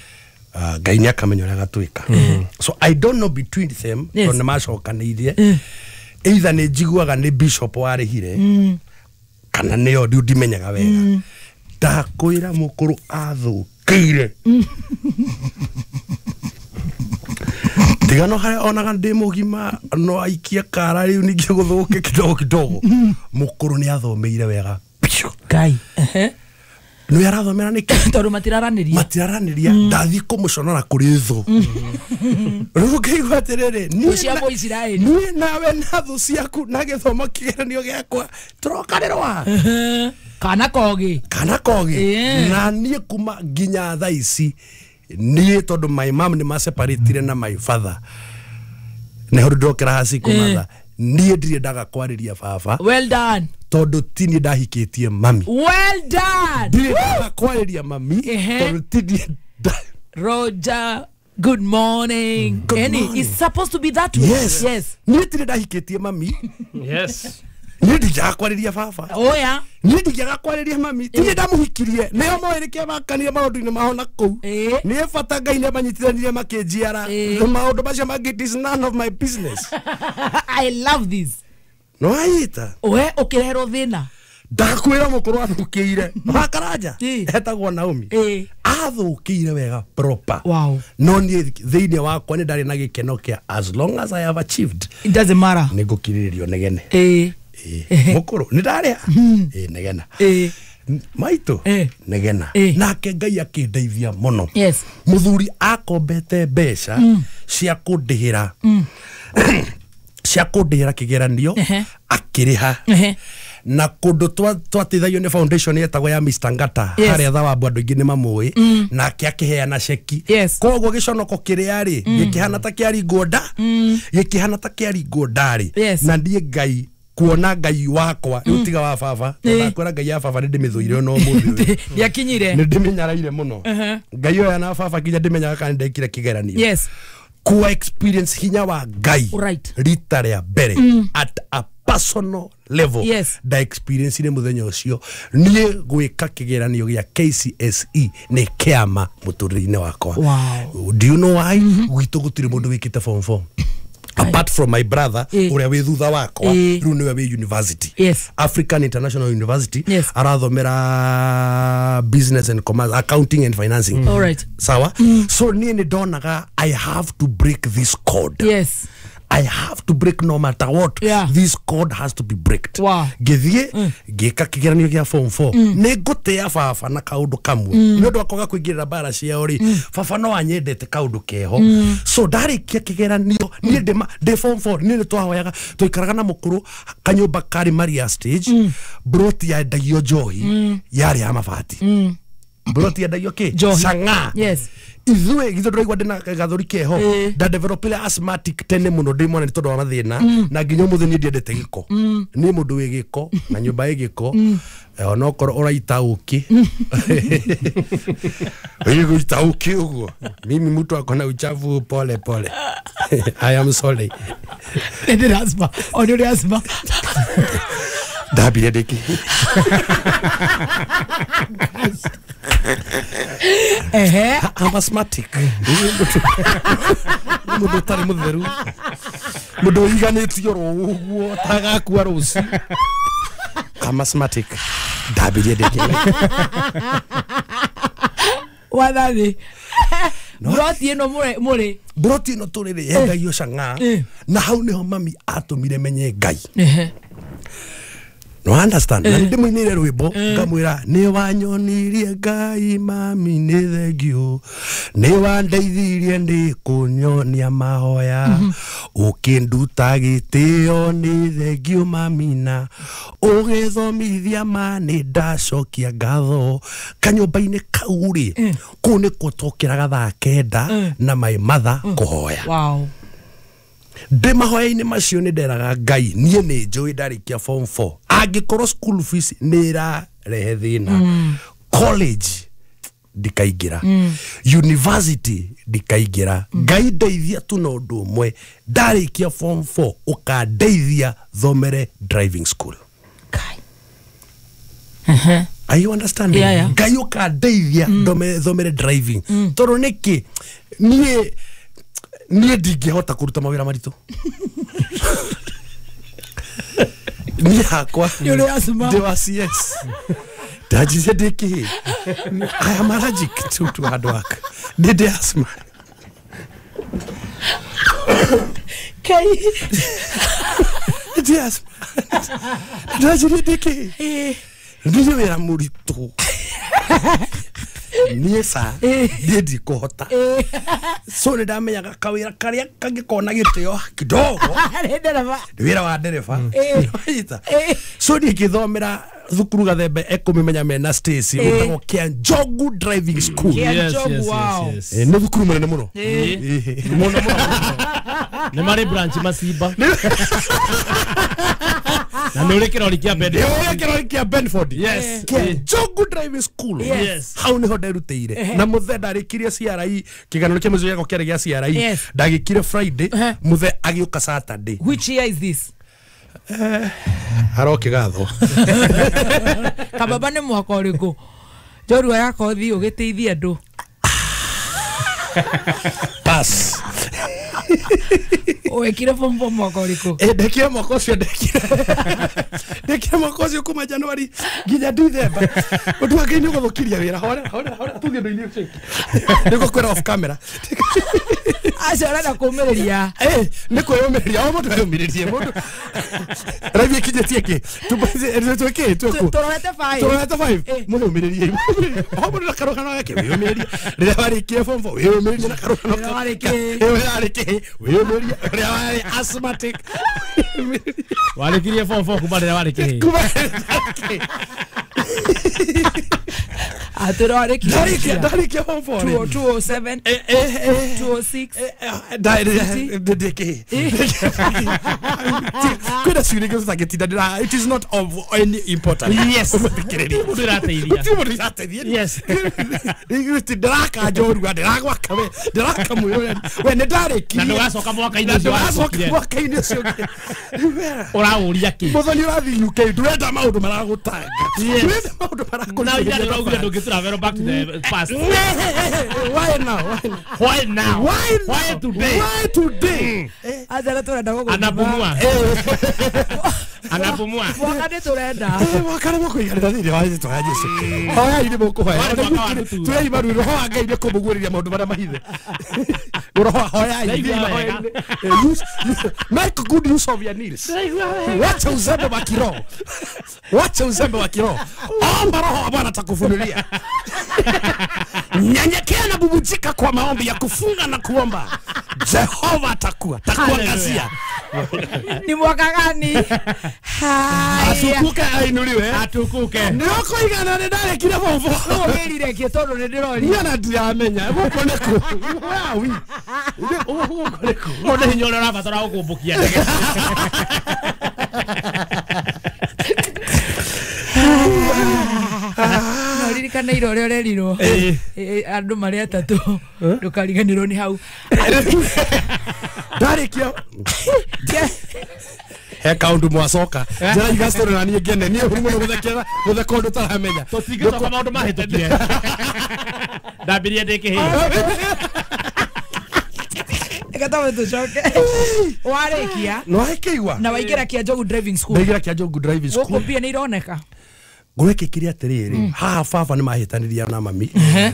Ngai nĩ akamenya ũrĩa agatwĩka. So I don't know between them tondũ nĩ macokanĩirie either nĩ njiguaga nĩ bishop warĩhire kana nĩyo ndiu ndimenyaga wega. Ndakwĩra mũkũrũ athũkĩire tigano harĩa onaga ndĩ mũgima no aikie kara rĩu ningĩ gũthũke kidogo kidogo. Mũkũrũ nĩ athomeire wega biũ. Ngai nĩ arathomera nĩkĩ tondũ matiraranĩria matiraranĩria ndathiĩ kũmũconora kũrĩ thũ. Rĩu ngĩigua atĩrĩrĩ niĩ nawe na thũ ciaku na gĩthomo kĩgeranio gĩakwa tũrokanĩrwa kana kogĩ kana kogĩ na niĩ kuma nginya thaa ici niĩ tondũ my mom nĩ maseparatire na my father nĩ hau ndokera haci kũmatha niĩ ndirĩ ndaga kwarĩria baba. Well done. Tondũ ti niĩ ndahikĩtie mami. Well done. Ndirĩ ndaga kwarĩria mami tondũ ti niĩ. Roger, good morning. Good Any, morning. It's supposed to be that way. Yes. Yes. Niĩ ndirĩ ndahikĩtie mami. Yes. Niĩ ndingĩaga kwarĩria baba. Oh yeah. Niĩ ndingĩaga kwarĩria mami. Ti niĩ ndamũhikirie. Nĩo moĩ nĩkĩo makanire maũndũ-inĩ mao na kũu. Nĩ bata Ngai nĩ amanyitithanirie makĩnjiara. Maũndũ macio mangĩ it is none of my business. I love this. No anyita. We ũkĩreherwo thĩna. Ndakwĩra mũkũrũ athũkĩire. Wa Karanja etagwo Naomi. Athũkĩire wega proper. Wow. No niĩ thĩinĩ wakwa nĩ ndarĩ na gĩkeno kĩa as long as I have achieved. It doesn't matter. Nĩ ngũkirĩrĩrio negene. Eh. Mũkũrũ nĩ ndarĩa. Eh negena. Eh. Maitũ negena. Nake Ngai akĩndeithia mũno. Yes. Mũthuri akombete mbeca cia kũndĩhĩra. Cia kũndĩhĩra kĩgeranio akĩrĩha. Na kũndũ twateithagio nĩ foundation yetagwo ya Mister Ngata harĩa Thawabu andũ aingĩ nĩ mamũĩ nake akĩheana ceki. Koguo gĩconoko kĩrĩa rĩ gĩkĩhana ta kĩaringwo nda gĩkĩhana ta kĩaringwo ndarĩ na niĩ Ngai kuona Ngai wakwa rĩu tiga wa baba ndakwĩra Ngai ya baba nĩ ndĩmĩthũire no ũmũthĩ ũyũ ndiakinyire nĩ ndĩmĩnyaraire mũno. Ngai ũyũ na baba nginya ndĩmenyaga kana nĩndekire kĩgeranio. Yes. Kuwa experience hinya wa Ngai right. Rita rĩa mbere at a personal level. Yes. Da experience nĩ mũthenya ũcio niĩ gwĩka kĩgeranio gĩa K C S E nĩ kĩama mũtũrĩre-inĩ wakwa. Wow. Do you know why? Gwitũ gũtirĩ mũndũ wĩkĩte form four. Apart from my brother ũrĩa wĩ thutha wakwa rĩu nĩwe wĩ university. Yes. African International University. Yes. Arathomera business and commerce, accounting and financing. Mm. All right. Sawa? Mm. So niĩ nĩ ndonaga I have to break this code. Yes. I have to break no matter what. Yeah. This code has to be breaked. Wow. Ngĩthiĩ ngĩka kĩgeranio gĩa form four. Nĩ ngũtĩa baba na kaũndũ kamwe. Nĩ ũndũ wa kwaga kũingĩrĩra mbara ciao rĩ, baba no anyendete kaũndũ keho. So ndarĩkia kĩgeranio niĩ ndĩ ndĩ form four niĩ nĩ twahoyaga twaikaraga na mũkũrũ kanyũmba karĩ Maria stage broti yendagio njohi yarĩ ya mabati. Mburoti yendagio kĩ? Njohi. Chang'aa. Yes. Ithuĩ githĩ ndũraigua ndĩna gathũri keho, nda developire asthmatic tene mũno ndĩ mwana nĩ tondũ wa mathĩna, na nginya ũmũthĩ niĩ ndiendete gĩko. Niĩ mũndũ wĩ gĩko na nyũmba ĩ gĩko, eh, onokorwo ũraita ũkĩ ũgũita ũkĩ ũguo, mimi mtu akona uchafu pole pole. I am sorry. Nĩ ndĩrĩ asthma. O nĩ ũrĩ asthma. Ndambire ndĩkĩ. Ehe. I'm asthmatic. Mũndũ ũtarĩ mũtheru, mũndũ ũiganĩtio oro ũguo tagakua rũciũ. I'm asthmatic. Ndambirie ndĩkĩ. Wathani. Mburoti ĩno mũrĩ mũrĩ. Mburoti ĩno tũrĩ rĩ yendagio chang'aa, na hau nĩho mami atũmire menye Ngai. Ehe. No understand. Na ndĩmũinĩire rwĩmbo ngamwĩra nĩ wanyonirie Ngai mami nĩ thengio, nĩ wandeithirie ndĩ kũnyonia mahoya, ũkĩnduta gĩtĩo nĩ thengio mami, na ũgĩthomithia ma nĩ ndacokia ngatho. Kanyũmba-inĩ kau rĩ, kũu nĩkuo twokĩraga thaa kenda na my mother kũhoya. Wow. Ndĩ mahoya-inĩ macio nĩ nderaga Ngai niĩ nĩ njũĩ ndarĩkia form four angĩkorwo school fees nĩ ĩrarehe thĩna, college ndikaingĩra, university ndikaingĩra, Ngai ndeithia tu na ũndũ ũmwe, ndarĩkia form four ũkandeithia thomere driving school. Are you understanding? Yeah, yeah. Ngai ũkandeithia thomere thomere driving tondũ nĩkĩ niĩ niĩ ndingĩhota kũruta mawĩra maritũ. Niĩ hakwa Nĩ ũrĩ asthma. ndĩ wa C S. Ndanjirie ndĩ kĩhĩ. I am allergic to, to hard work. Ndĩ ndĩ asthma. Kai. Ndĩ asthma. Ndanjirie ndĩ kĩhĩ. Ndĩ wĩra mũritũ. Niĩ ca niĩ ndikũhota. So nĩ ndamenyaga kawĩra karĩa kangĩkorwo na gĩtĩo kidogo Nĩ ndereba. nĩ wĩra wa ndereba. Nĩwanyita? So niĩ ngĩthomera thukuru Gathembe ekũmĩmenya mena Stacy ũtagwo Kianjogu Driving School. Kianjogu, Yes, yes, wow. yes, yes. Eh, nĩ thukuru mũnene mũno. Mũno mũno. Nĩ marĩ branch Masimba. Na nĩ ũrĩ kĩrori kĩa Benford. Nĩ ũrĩ kĩrori kĩa Benford. Yes. Kianjogu Driving School. Yes. Hau nĩho nderutĩire. Na mũthe ndarĩkirie C R I kĩganano kĩa mũciĩ gĩakwa kĩarĩ gĩa C R I. Yes. Ndagĩkire Friday, mũthe agĩũka Saturday. Which year is this? Arokĩgathwo. Kababa nĩ mwaka ũrĩkũ? Njorua ya kothi ũgĩteithia andũ. Pass. Wekire form four mwaka ũrĩkũ? Eh, ndekire mwaka ũcio ndekire. Ndekire mwaka ũcio kuma January nginya December. Ũndũ wa Ngai nĩ ũgũthũkiria wĩra. Horera, horera, horera, tũthiĩ ũndũ-inĩ ũcio ũngĩ. Nĩ ngũkwĩra off camera. Acio arenda kũũmĩrĩria. Eh, nĩ kwĩyũmĩrĩria, o mũndũ eyũmĩrĩrie, mũndũ. Raithi ĩkinyĩtie kĩ? Twĩkĩ? Twĩkũ? Tũrorete five. Tũrorete five. Mwĩyũmĩrĩrie. O mũndũ na karũgano gake, wĩyũmĩrĩrie. Rĩrĩa warĩkia form four, wĩyũmĩrĩrie na karũgano. Rĩrĩa warĩ kĩhĩ. Rĩrĩa warĩ kĩhĩ, wĩyũmĩrĩrie. Rĩrĩa warĩ asthmatic. Warĩkirie form four kuma rĩrĩa warĩ kĩhĩ. Kuma rĩrĩa warĩ kĩhĩ. Atĩrĩ warĩkia. Ndarĩkia, ndarĩkia form four rĩ. Two oh seven. Eh, eh, eh. Two oh six. Ndĩ kĩhĩ. Kwĩna ciũria ingĩ tũtangĩtinda ndĩra- it is not of any importance. Yes. Ũmũthikĩrĩrie. Mũndũ ĩrateithia. Gũtirĩ mũndũ ĩrateithia. Yes. Ndĩraka njorua, ndĩragwaka we, ndĩraka mwĩroreri. We nĩ ndarĩkirie. Na ndũgacoka mwaka-inĩ Na ũcio ndũgacoka wacokire. mwaka-inĩ ũcio ũngĩ. Ũraũria kĩ? Mũthoni ũrathiĩ U K, ndũrenda maũndũ maragũtanga. Yes. Ndũrenda maũndũ marakũrigĩrĩria. Na ira ndĩraugire ndũngĩ travel back to the past. Why now? Why now? Why now? Why now? Why today? Why today? Aca tũrenda gũgũthima. Anapumua. Anapumua. Mwaka nĩ tũrenda. Eh, mwaka nĩ mũkũiganĩra thĩinĩ wa rĩtwa rĩa Jesũ. Hoyai nĩ mũkũhoya. Warĩ mwaka wa ndutura. Tuyai maru roho wa Ngai nĩ kũmũguũrĩria maũndũ marĩa mahithe. Roho hoyai Ndaigua thiĩ wega. mahoya-inĩ. Eh, use- use- Make good use of your knees. Wacha uzembe wa kiroho. Wacha uzembe wa kiroho. Omba roho wa Bwana atakufunulia. Nyenyekea na bubujika kwa maombi ya kufunga na kuomba. Jehova atakuwa, atakuangazia. Ni mwaka gani? Atukuke ainuriwe. Atukuke. Nĩũkũigana nĩ ndarekire bobo. No wĩrire kĩ tondũ nĩ ndĩroria. Niĩ ona ndiramenya. Gũkũ nĩ kũ? Wawi. Gũkũ nĩ kũ? Ũyũ nĩ hinya ũrĩa ũrabatara gũkũmbũkia ndege. No ririkana ira ũrĩa ũrerirwo. Andũ marĩ atatũ. Ndũkariganĩrwo nĩ hau. Ndarĩkia. He kaundu mwacoka njĩra iga story na niĩ ngene niĩ huru mũno gũthekera gũtheka ũndũ ũtaramenya tũtingĩcoka maũndũ mahĩtũkire ndambirie ndĩ kĩhĩĩ Reke twambe tũcoke warĩkia nĩwakĩigua na waingĩra Kĩanjogu driving school ndaingĩra Kĩanjogu driving school gũkũ mbia nĩ ironeka gwekĩkire atĩrĩrĩ haha baba nĩ mahĩtanĩria na mami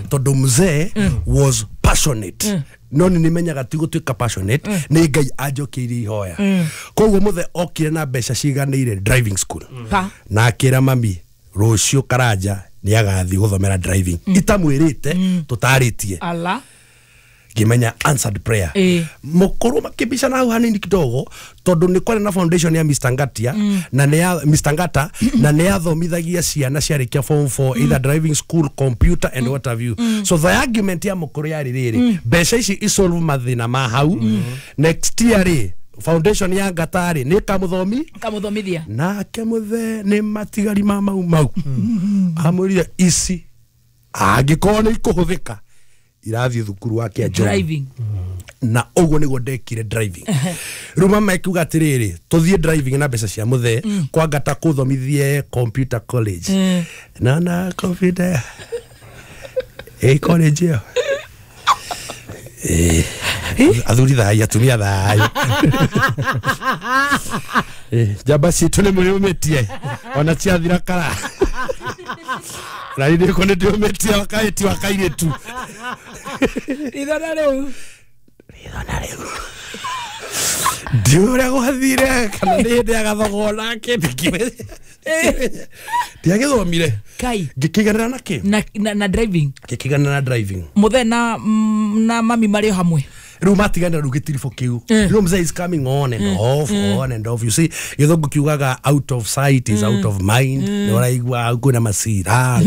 tondũ mzee was passionate no nĩ nĩmenyaga ti gũtuĩka passionate nĩ Ngai anjokeirie ihoya koguo mũthe okire na mbeca ciganĩire driving school na akĩra mami rũciũ Karanja nĩ agathiĩ gũthomera driving itamwĩrĩte tũtarĩtie ala ngĩmenya answered prayer mũkũrũ makĩbicana hau hanini kidogo tondũ nĩ kwarĩ na foundation ya Mister Ngatia na nĩ ya Mister Ngata na nĩ yathomithagia ciana ciarĩkia form four either driving school computer and what have you so the argument ya mũkũrũ yarĩ rĩrĩ mbeca ici isolve mathĩna ma hau next year rĩ foundation ya Ngata rĩ nĩ kamũthomi kamũthomithia nake mũthe nĩ matigari ma mau mau amwĩrire ici angĩkorwo nĩ ikũhũthĩka irathiĩ thukuru wa Kĩanjogu driving na ũguo nĩguo ndekire driving rĩu mama ĩkiuga atĩrĩrĩ tũthiĩ driving na mbeca cia mũthee kwa Ngata kũthomithie computer college nona computer ĩ college ĩyo athuri thayũ atumia thayũ njamba citũ nĩ mwĩyũmĩtie ona ciathira kara na niĩ ndĩko nĩ ndĩyũmĩtie wakaĩti wa kairĩtu ritho na rĩu ritho na rĩu ndiũĩ ũrĩa gwathire kana nĩ hĩndĩ ya gathogona kĩndũ ndiagĩthomire ngĩkĩiganĩra na kĩ na na driving ngĩkĩiganĩra na driving mũthe na na mami marĩ o hamwe rĩu matiganĩra rĩu gĩtiribũ kĩu rĩu mzee is coming on and off on and off you see gĩthũngũ kiugaga out of sight is out of mind nĩ ũraigua hau kwĩna macira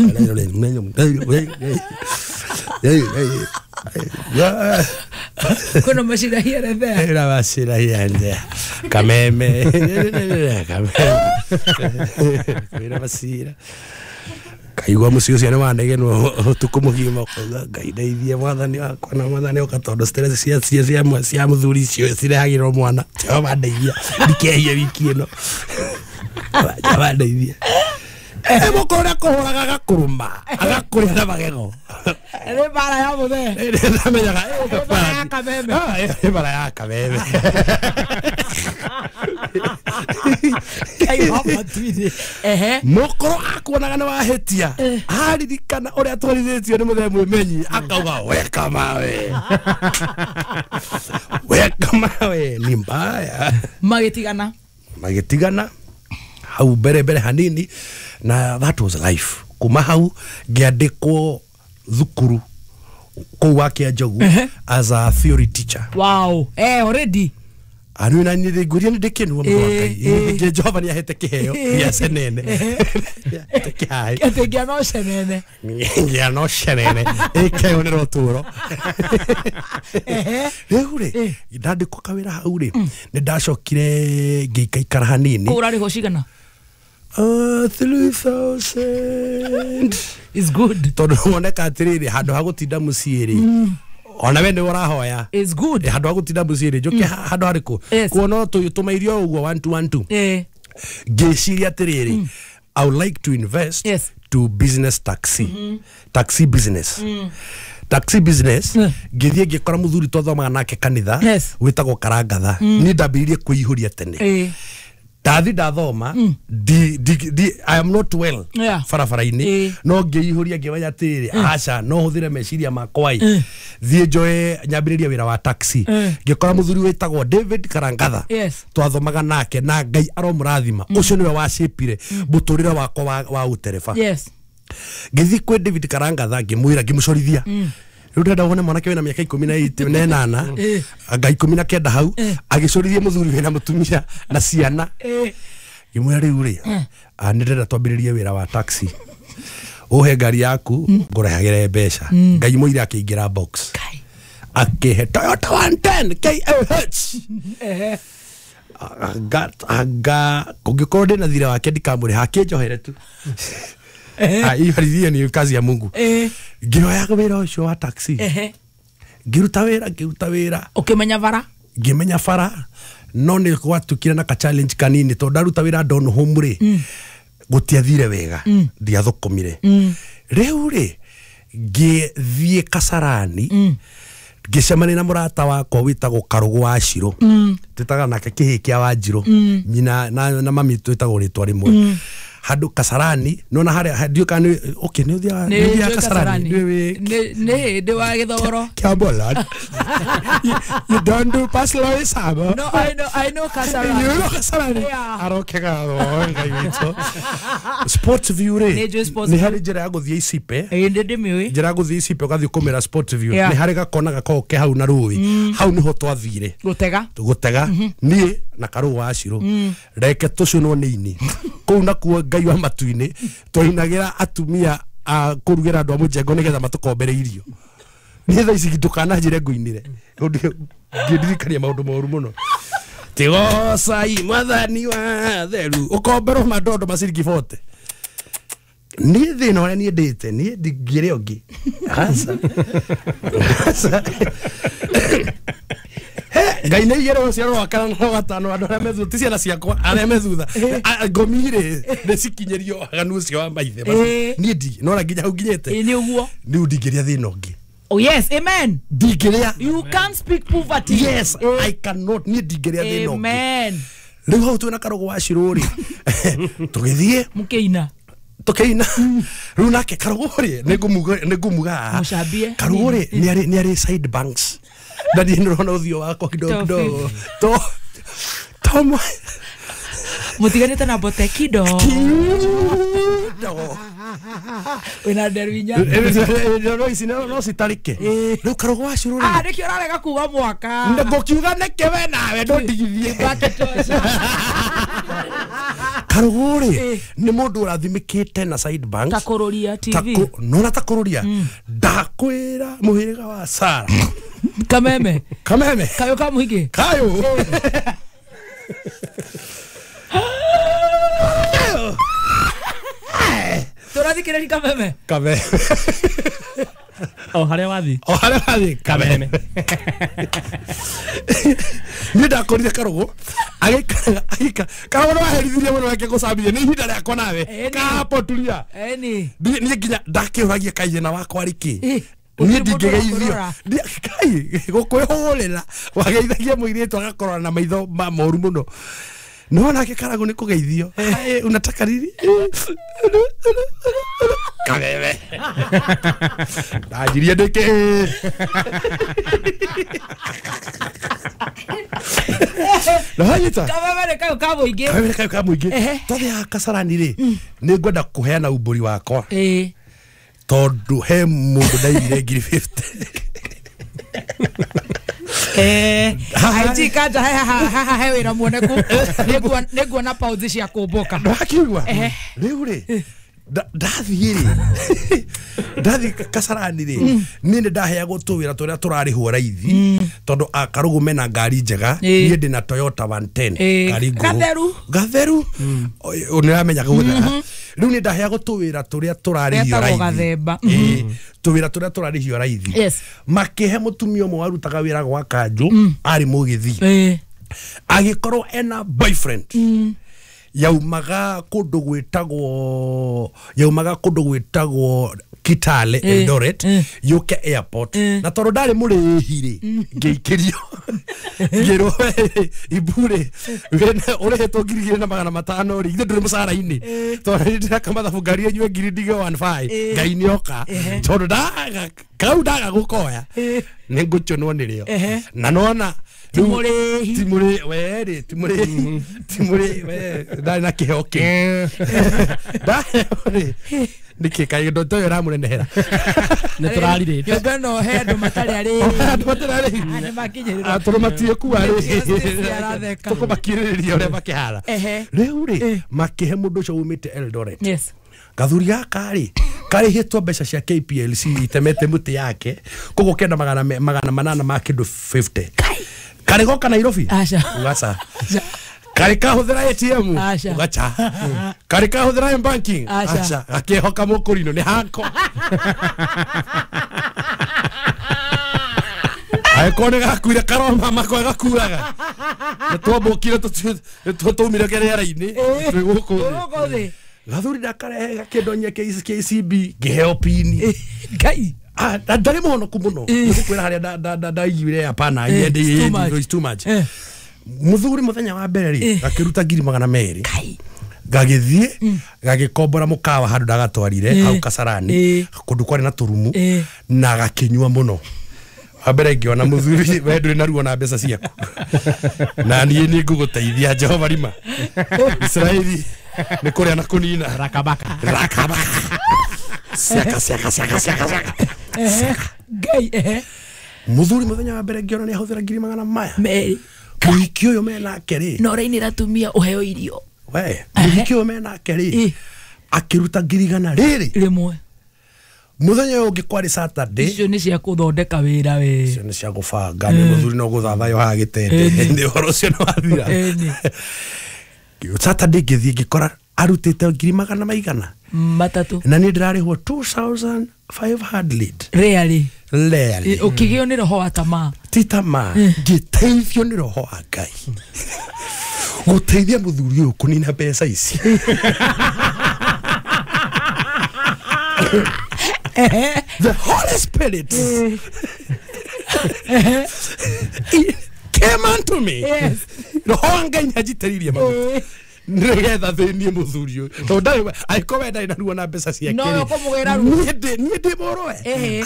kwĩna macira here there kwĩna macira here there kameme kameme kwĩna macira kaigua mũciĩ ũcio nĩ wanegenwo ũtukũ mũgima ũkauga Ngai ndeithie mwathani wakwa na mwathani oka tondũ stress cia cia cia cia mũthuri icio cirehagĩrwo mwana Jehova ndeithia ndikehie wiki ĩno Jehova ndeithia mũkũrũ ũrĩa kũhũraga agakũrũma agakũrĩa na magego nĩ mbara ya mũthee ndamenyaga mbara ya kameme nĩ mbara ya kameme mũkũrũ akuonaga nĩ wahĩtia aririkana ũrĩa twarithĩtio nĩ mũthee mwĩmenyi akauga weka mawe weka mawe ni mbaya magĩtigana magĩtigana hau mbere mbere hanini na that was life kuma hau ngĩandĩkwo thukuru kũu wa Kĩanjogu as a theory teacher wow eh already anu na nĩ ngũria nĩ ndĩkĩnua mũndũ wa Ngai nĩ Jehova nĩ ahete kĩheo gĩa cenene ahete kĩhaĩ atĩ ngĩa no cenene ngĩa no cenene ĩkeyonera ũtũũro rĩu rĩ ndandĩkwo kawĩra hau rĩ nĩ ndacokire ngĩikaikara hanini kũu ũrarĩhwo cigana Uh, three thousand is good tondũ woneka atĩrĩrĩ handũ ha gũtinda mũciĩ rĩ ona we nĩ ũrahoya is good handũ ha gũtinda mũciĩ rĩ njũke handũ harĩkũ kuona tũma irio ũguo one two one two ngĩciria atĩrĩrĩ I would like to invest yes. to business taxi mm -hmm. taxi business mm. taxi business ngĩthiĩ ngĩkora mũthuri twathomaga nake kanitha yes. wĩtagwo Karangatha mm. niĩ ndambĩrĩirie kwĩihũria tene eh. ndathi ndathoma mm. di, di, di, I am not well yeah. barabara-inĩ eh. no ngĩihũria ngĩmenya atĩrĩrĩ mm. aca no hũthĩre meciria makwa ĩ mm. thiĩ njoe nyambĩrĩrie wĩra wa taxi mm. ngĩkora mũthuri wĩtagwo David Karangatha yes. twathomaga nake na Ngai aromũrathima mm. ũcio nĩwe wacĩpire mũtũrĩre wakwa wa, wa ũtereba yes. ngĩthiĩ kwĩ David Karangatha ngĩmwĩra ngĩmũcorithia mm. Rĩu ndĩrenda wone mwanake wĩna mĩaka ikũmi na ĩtĩ na ĩnana anga ikũmi na kenda hau agĩcũrithia mũthuri wĩna mũtumia na ciana. Ngĩmwĩra rĩu rĩ nĩ ndĩrenda twambĩrĩrie wĩra wa taxi uhe ngari yaku ngũrehagĩre mbeca. Ngai mũire akĩingĩra box akĩhe Toyota one ten K O H. Anga anga kũngĩkorwo ndĩna thirĩ wake ndikamũrĩha akĩnjohere tu. Hiyo ni kazi ya Mungu. Ngĩoya wĩra ũcio wa taxi ngĩruta wĩra ngĩruta wĩra ũkĩmenya bara ngĩmenya bara no nĩ gwatukire na ka challenge kanini tondũ ndaruta wĩra Don Home rĩ gũtiathire wega ndiathũkũmire. Rĩu rĩ ngĩthiĩ Kasarani ngĩcemania na mũrata wakwa wĩtagwo Karũgũ wa Shiro twĩtaga nake kĩhĩ kĩa Wanjirũ nyina na, na mami twĩtagwo rĩtwa rĩmwe handũ Kasarani nona harĩa ndiũ kana okay nĩ ũthiaga nĩ ũthiaga Kasarani nĩ nĩ hĩndĩ wa gĩthogoro Kiambola. You don't do pass Lois Sabo. No, I know I know Kasarani. You know Kasarani. Arokega Ngai witũ. Sports View rĩ nĩ harĩ njĩra ya gũthiĩ Isipe. Ĩĩ ndĩ ndĩmĩũĩ. Njĩra ya gũthiĩ Isipe ũgathiĩ kũmĩra Sports View nĩ harĩ gakona gakoragwo ke hau na rũĩ hau nĩho twathire gũtega gũtega niĩ na Karũgũ wa Shiro reke tũcũnwo nĩ ini kũu nakuo Ngai wa matu-inĩ twainagĩra atumia a kũrugĩra andũ a mũjengo nĩgetha matũkombere irio. Niĩ thaa ici ndũkananjĩre ngũinĩre ngĩndirikania maũndũ moru mũno. Tigocai mwathani wa theru ũkomberwo mandondo ma ciringi forty. Niĩ thĩna ũrĩa niĩ ndĩte niĩ ndingĩrĩa ũngĩ. Aca. Aca. Ngai nĩ igere rũciaro rwa kana na rwa gatano andũ arĩa me thutha ti ciana ciakwa arĩa me thutha ngomi rĩ nĩ cikinyĩrio waganu ũcio wa maithe niĩ ndi nona nginya hau nginyĩte nĩ ũguo rĩu ndingĩrĩa thĩna ũngĩ. Oh yes, amen. Ndingĩrĩa. You can't speak poverty. Yes, I cannot. Niĩ ndingĩrĩa thĩna ũngĩ. Amen. Rĩu hau twĩna Karũgũ wa Shiro rĩ tũgĩthiĩ mũkĩina tũkĩina rĩu nake Karũgũ rĩ nĩ ngũmuga haha Karũgũ rĩ nĩ arĩ side banks na niĩ nĩrona ũthiũ wakwa kidogo kidogo to to mũtiganĩte na bote kidogo kidogo wĩna nderu inya no ici no citarĩke rĩu Karũgũ wa Shiro rĩ ah nĩkĩo ũrarega kuga mwaka ngũkiuga nĩkĩ we nawe ndũndigithie Karũgũ rĩ nĩ mũndũ ũrathimĩkĩte na side banks ta kũrũria T V nona ta kũrũria ndakwĩra mũhĩrĩga wa Sara Kameme Kameme kayo ka mũingĩ kayo tũrathikĩrĩria Kameme Kameme o harĩa wathiĩ o harĩa wathiĩ Kameme niĩ ndakorire Karũgũ agĩikara agĩikara Karũgũ nĩ waherithirie mũno reke gũcambithia nĩ ihinda rĩakwa nawe kapo turia niĩ nginya ndakĩũragia kaigĩna wakwa rĩkĩ niĩ ndingĩgeithio kai gũkwĩhũrĩra wageithagia mũirĩtu agakorwo na maitho moru mũno no nake Karũgũ nĩ kũgeithio unataka nini Kameme ndanjirie ndĩkĩ Nahanyita Kameme nĩ kayũ ka mũingĩ Kameme nĩ kayũ ka mũingĩ twathiaga Kasarani rĩ nĩ ngwenda kũheana umbũri wakwa tondũ he mũndũ ndaiyire ngiri fifty Eh, I G kanja haha he wĩra muoneku nĩ nguona pounds cia kũmbũka ndwakiugua rĩu rĩ ndathiĩ rĩ ndathiĩ Kasarani rĩ niĩ nĩ ndaheagwo tũwĩra tũrĩa tũrarĩhwo raithi tondũ a Karũgũ mena ngari njega niĩ ndĩ na Toyota one ten ngari ngũrũ gatheru gatheru nĩ ũramenya gũthera rĩu nĩ ndaheagwo tũwĩra tũrĩa tũrarĩhio raithi tũwĩra tũrĩa tũrarĩhio raithi makĩhe mũtumia ũmwe warutaga wĩra gwa kanjũ arĩ mũgĩthii agĩkorwo ena boyfriend yaumaga kũndũ gwĩtagwo yaumaga kũndũ gwĩtagwo Kitale Eldoret yũke airport na tondũ ndarĩ mũrĩhi rĩ ngĩikĩrio ngĩrwo iburĩ ũrĩhĩtwo ngiri igĩrĩ na magana matano rĩ ithe ndũrĩ mũcara-inĩ tondũ nĩ ndĩreka mathabu ngari ĩnyue ngiri ndige one five Ngai nĩoka tondũ ndaga kau ndaga gũkoya nĩ ngũchũnwo nĩrĩo na nona Timũrĩhi. Timũrĩ we rĩ timũrĩ timũrĩ we ndarĩ na kĩheo kĩu ndaheo rĩ nĩkĩ kaĩ ndo ĩyo ĩramũnenehera nĩ tũrarire nyũmba ĩno he andũ matarĩ arĩhi andũ matarĩ arĩhi nĩ makinyĩrĩrwo tondũ matiĩkua rĩ aratheka tũkũmakirĩrĩria ũrĩa makĩhana rĩu rĩ makĩhe mũndũ ũcio umĩte Eldoret. Yes. Gathuri gaka rĩ karĩhĩtwo mbeca cia K P L C itemete mũtĩ yake koguo kenda magana magana manana ma kĩndũ fifty karĩ goka Nairobi ugaca karĩ kahũthĩra A T M ugaca karĩ kahũthĩra M-banking aca gakĩhoka mũkũrinũ nĩ hako angĩkorwo nĩ gakuire karoma makwa gakuaga nĩ twambũkire twaumire rĩera-inĩ twĩ gũkũ thĩ gathuri ndakarehe gakĩndonya K C B ngĩheo pini ngai ndarĩ mũhonoku mũno nĩgũkwĩra harĩa ndaiguire hapana it's too much muthuri muthenya wa mbere rĩ gakĩruta ngiri magana merĩ gagĩthiĩ gagĩkombora mũkawa handũ ndagatwarire hau Kasarani kũndũ kwarĩ na tũrumu na gakĩnyua mũno wa mbere ngĩona mũthuri we ndũrĩ na ruo na mbeca ciaku na niĩ nĩ ngũgũteithia Jehova rima Israeli nĩ kũrĩa na kũnina rakabaka rakabaka siaka siaka siaka siaka siaka ngai ehe mũthuri mũthenya wa mbere ngĩona nĩ ahũthĩra ngiri magana maya merĩ mũhiki ũyũ menake rĩ na ũrainĩra atumia ũheo irio we mũhiki ũyũ menake rĩ akĩruta ngiri igana rĩrĩ rĩmwe mũthenya ũyũ ũngĩ kwarĩ Saturday icio nĩ cia kũthondeka wĩra we icio nĩ cia gũbanga nĩ mũthuri no gũthathayo haha gĩtende nĩ ũhoro ũcio nĩ wathira Saturday ngĩthiĩ ngĩkora arutĩte ngiri magana maigana matatũ na niĩ ndĩrarĩhwo two thousand five hundred rarely rarely ũkĩgĩo nĩ roho wa tamaa ti tamaa ngĩteithio nĩ roho wa Ngai gũteithia mũthuri ũyũ kũnina mbeca ici The Holy Spirit came unto me. Roho wa Ngai nĩanjitĩrĩirie maguta nĩgetha thĩnie mũthuri ũyũ tondũ ndarĩ angĩkorwo we ndarĩ na ruo na mbeca ciake no ũkũmũgĩra ruo niĩ ndĩ niĩ ndĩ mũrũwe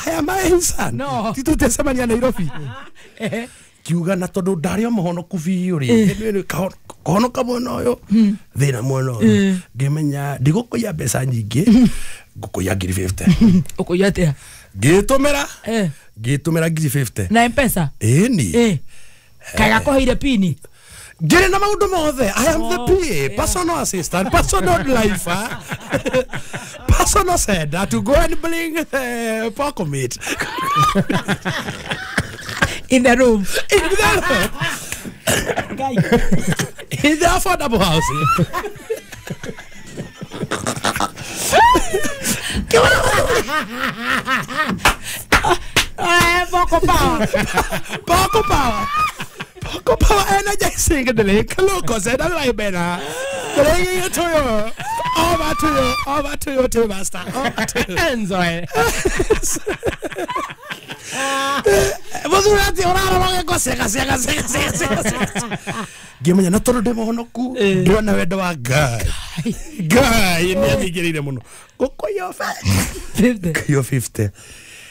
I am my son ti tũtecemania Nairobi kiuga na tondũ ndarĩ o mũhonoku biũ rĩ kũhonoka mwena ũyũ thĩna mwena ũyũ ngĩmenya ndigũkũiya mbeca nyingĩ ngũkũiya ngiri fifty ũkũiya atĩa ngĩtũmĩra ngĩtũmĩra ngiri fifty na M-Pesa ĩni kaĩ gakũheire pini ngĩrĩ na maũndũ mothe I am the P A personal assistant personal driver personal sender to go and bring the pork meat in the room in the room in the affordable house Poco power Poco power Poco power energizing drink glucose and libena bringing it to you over to you over to you to master over to you enjoy Mũthuri atĩ ũrarora gĩko ceka ceka ceka ceka ceka ngĩmenya na tondũ ndĩ mũhonoku ndĩrona wendo wa Ngai Ngai nĩ anyingĩrĩire mũno ngũkũiyo fifty fifty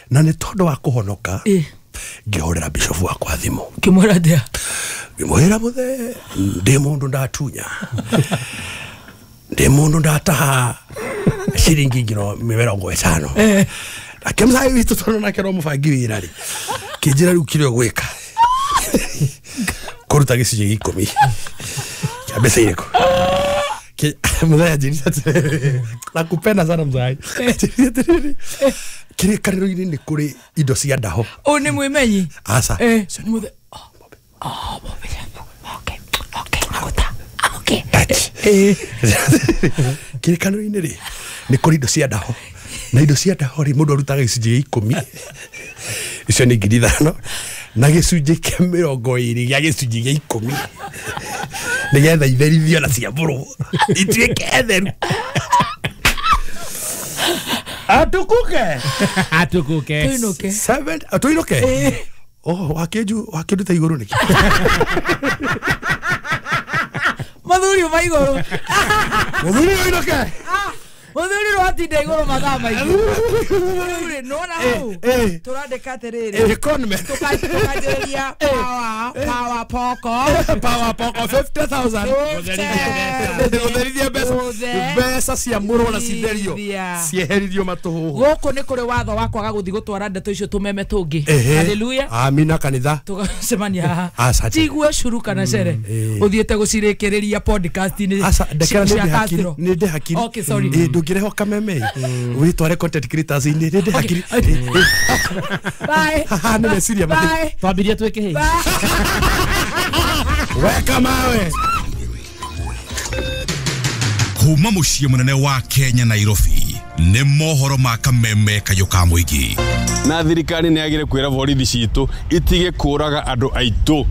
na nĩ tondũ wa kũhonoka ngĩhũrĩra bishop wakwa thimũ ngĩmwĩra atĩa ngĩmwĩra mũthee ndĩ mũndũ ndatunya ndĩ mũndũ ndataha ciringi ngiro mĩrongo ĩtano nake mũthai witũ tondũ nake no mũbangi wĩra rĩ kĩnjĩra rĩu kĩrĩa ũgwĩka kũruta gĩcunjĩ gĩa ikũmi kĩa mbeca irĩkũ mũthai anjĩrire atĩrĩrĩ nakupenda sana mũthai anjĩrire atĩrĩrĩ kĩrĩkanĩro-inĩ nĩ kũrĩ indo cia ndaho ũyũ nĩ mwĩmenyi aca kĩrĩkanĩro-inĩ rĩ nĩ kũrĩ indo cia ndaho na indo cia ndaho rĩ mũndũ arutaga gĩcunjĩ gĩa ikũmi icio nĩ ngiri ithano na gĩcunjĩ kĩa mĩrongo ĩrĩ gĩa gĩcunjĩ gĩa ikũmi nĩgetha itherithio na ciambũrwo ituĩke theru atukuke atukuke tuinuke seven tuinuke oh wakĩnju wakĩnduta igũrũ nĩkĩ Muthuri uma igũrũ Muthuri ũinũke Muthuri rwatinda igũrũ mathaa maingĩ Rĩu nona hau tũrandĩka atĩrĩrĩ economy tũkanjĩrĩria power power Power Poko Power Poko fifty thousand gutherithia mbeca mbeca cia mũrũ na citherio cieheririo matũhũhũ. Gũkũ nĩ kũrĩ watho wa kwaga gũthiĩ gũtwara ndeto icio tũmeme tũngĩ. Hallelujah. Amina kanitha. Tũgacemania haha. Tigue curu kana cere. Ũthiĩte gũcirĩkĩrĩria podcast-inĩ. Aca ndekera nĩ hakiri nĩ ndĩ hakiri. Okay, sorry. Ĩ ndũngĩreho kameme. Wĩtware content creators inĩ nĩ ndĩ hakiri. Bye. Haha nĩ meciria mathĩ. Twambirie twĩkĩhĩ. Weka mawe. Kuma muciĩ mũnene wa Kenya Nairobi nĩ mohoro ma kameme kayũ ka mũingĩ. Na thirikari nĩ yagĩrĩire kwĩra borithi citũ itige kũraga andũ aitũ.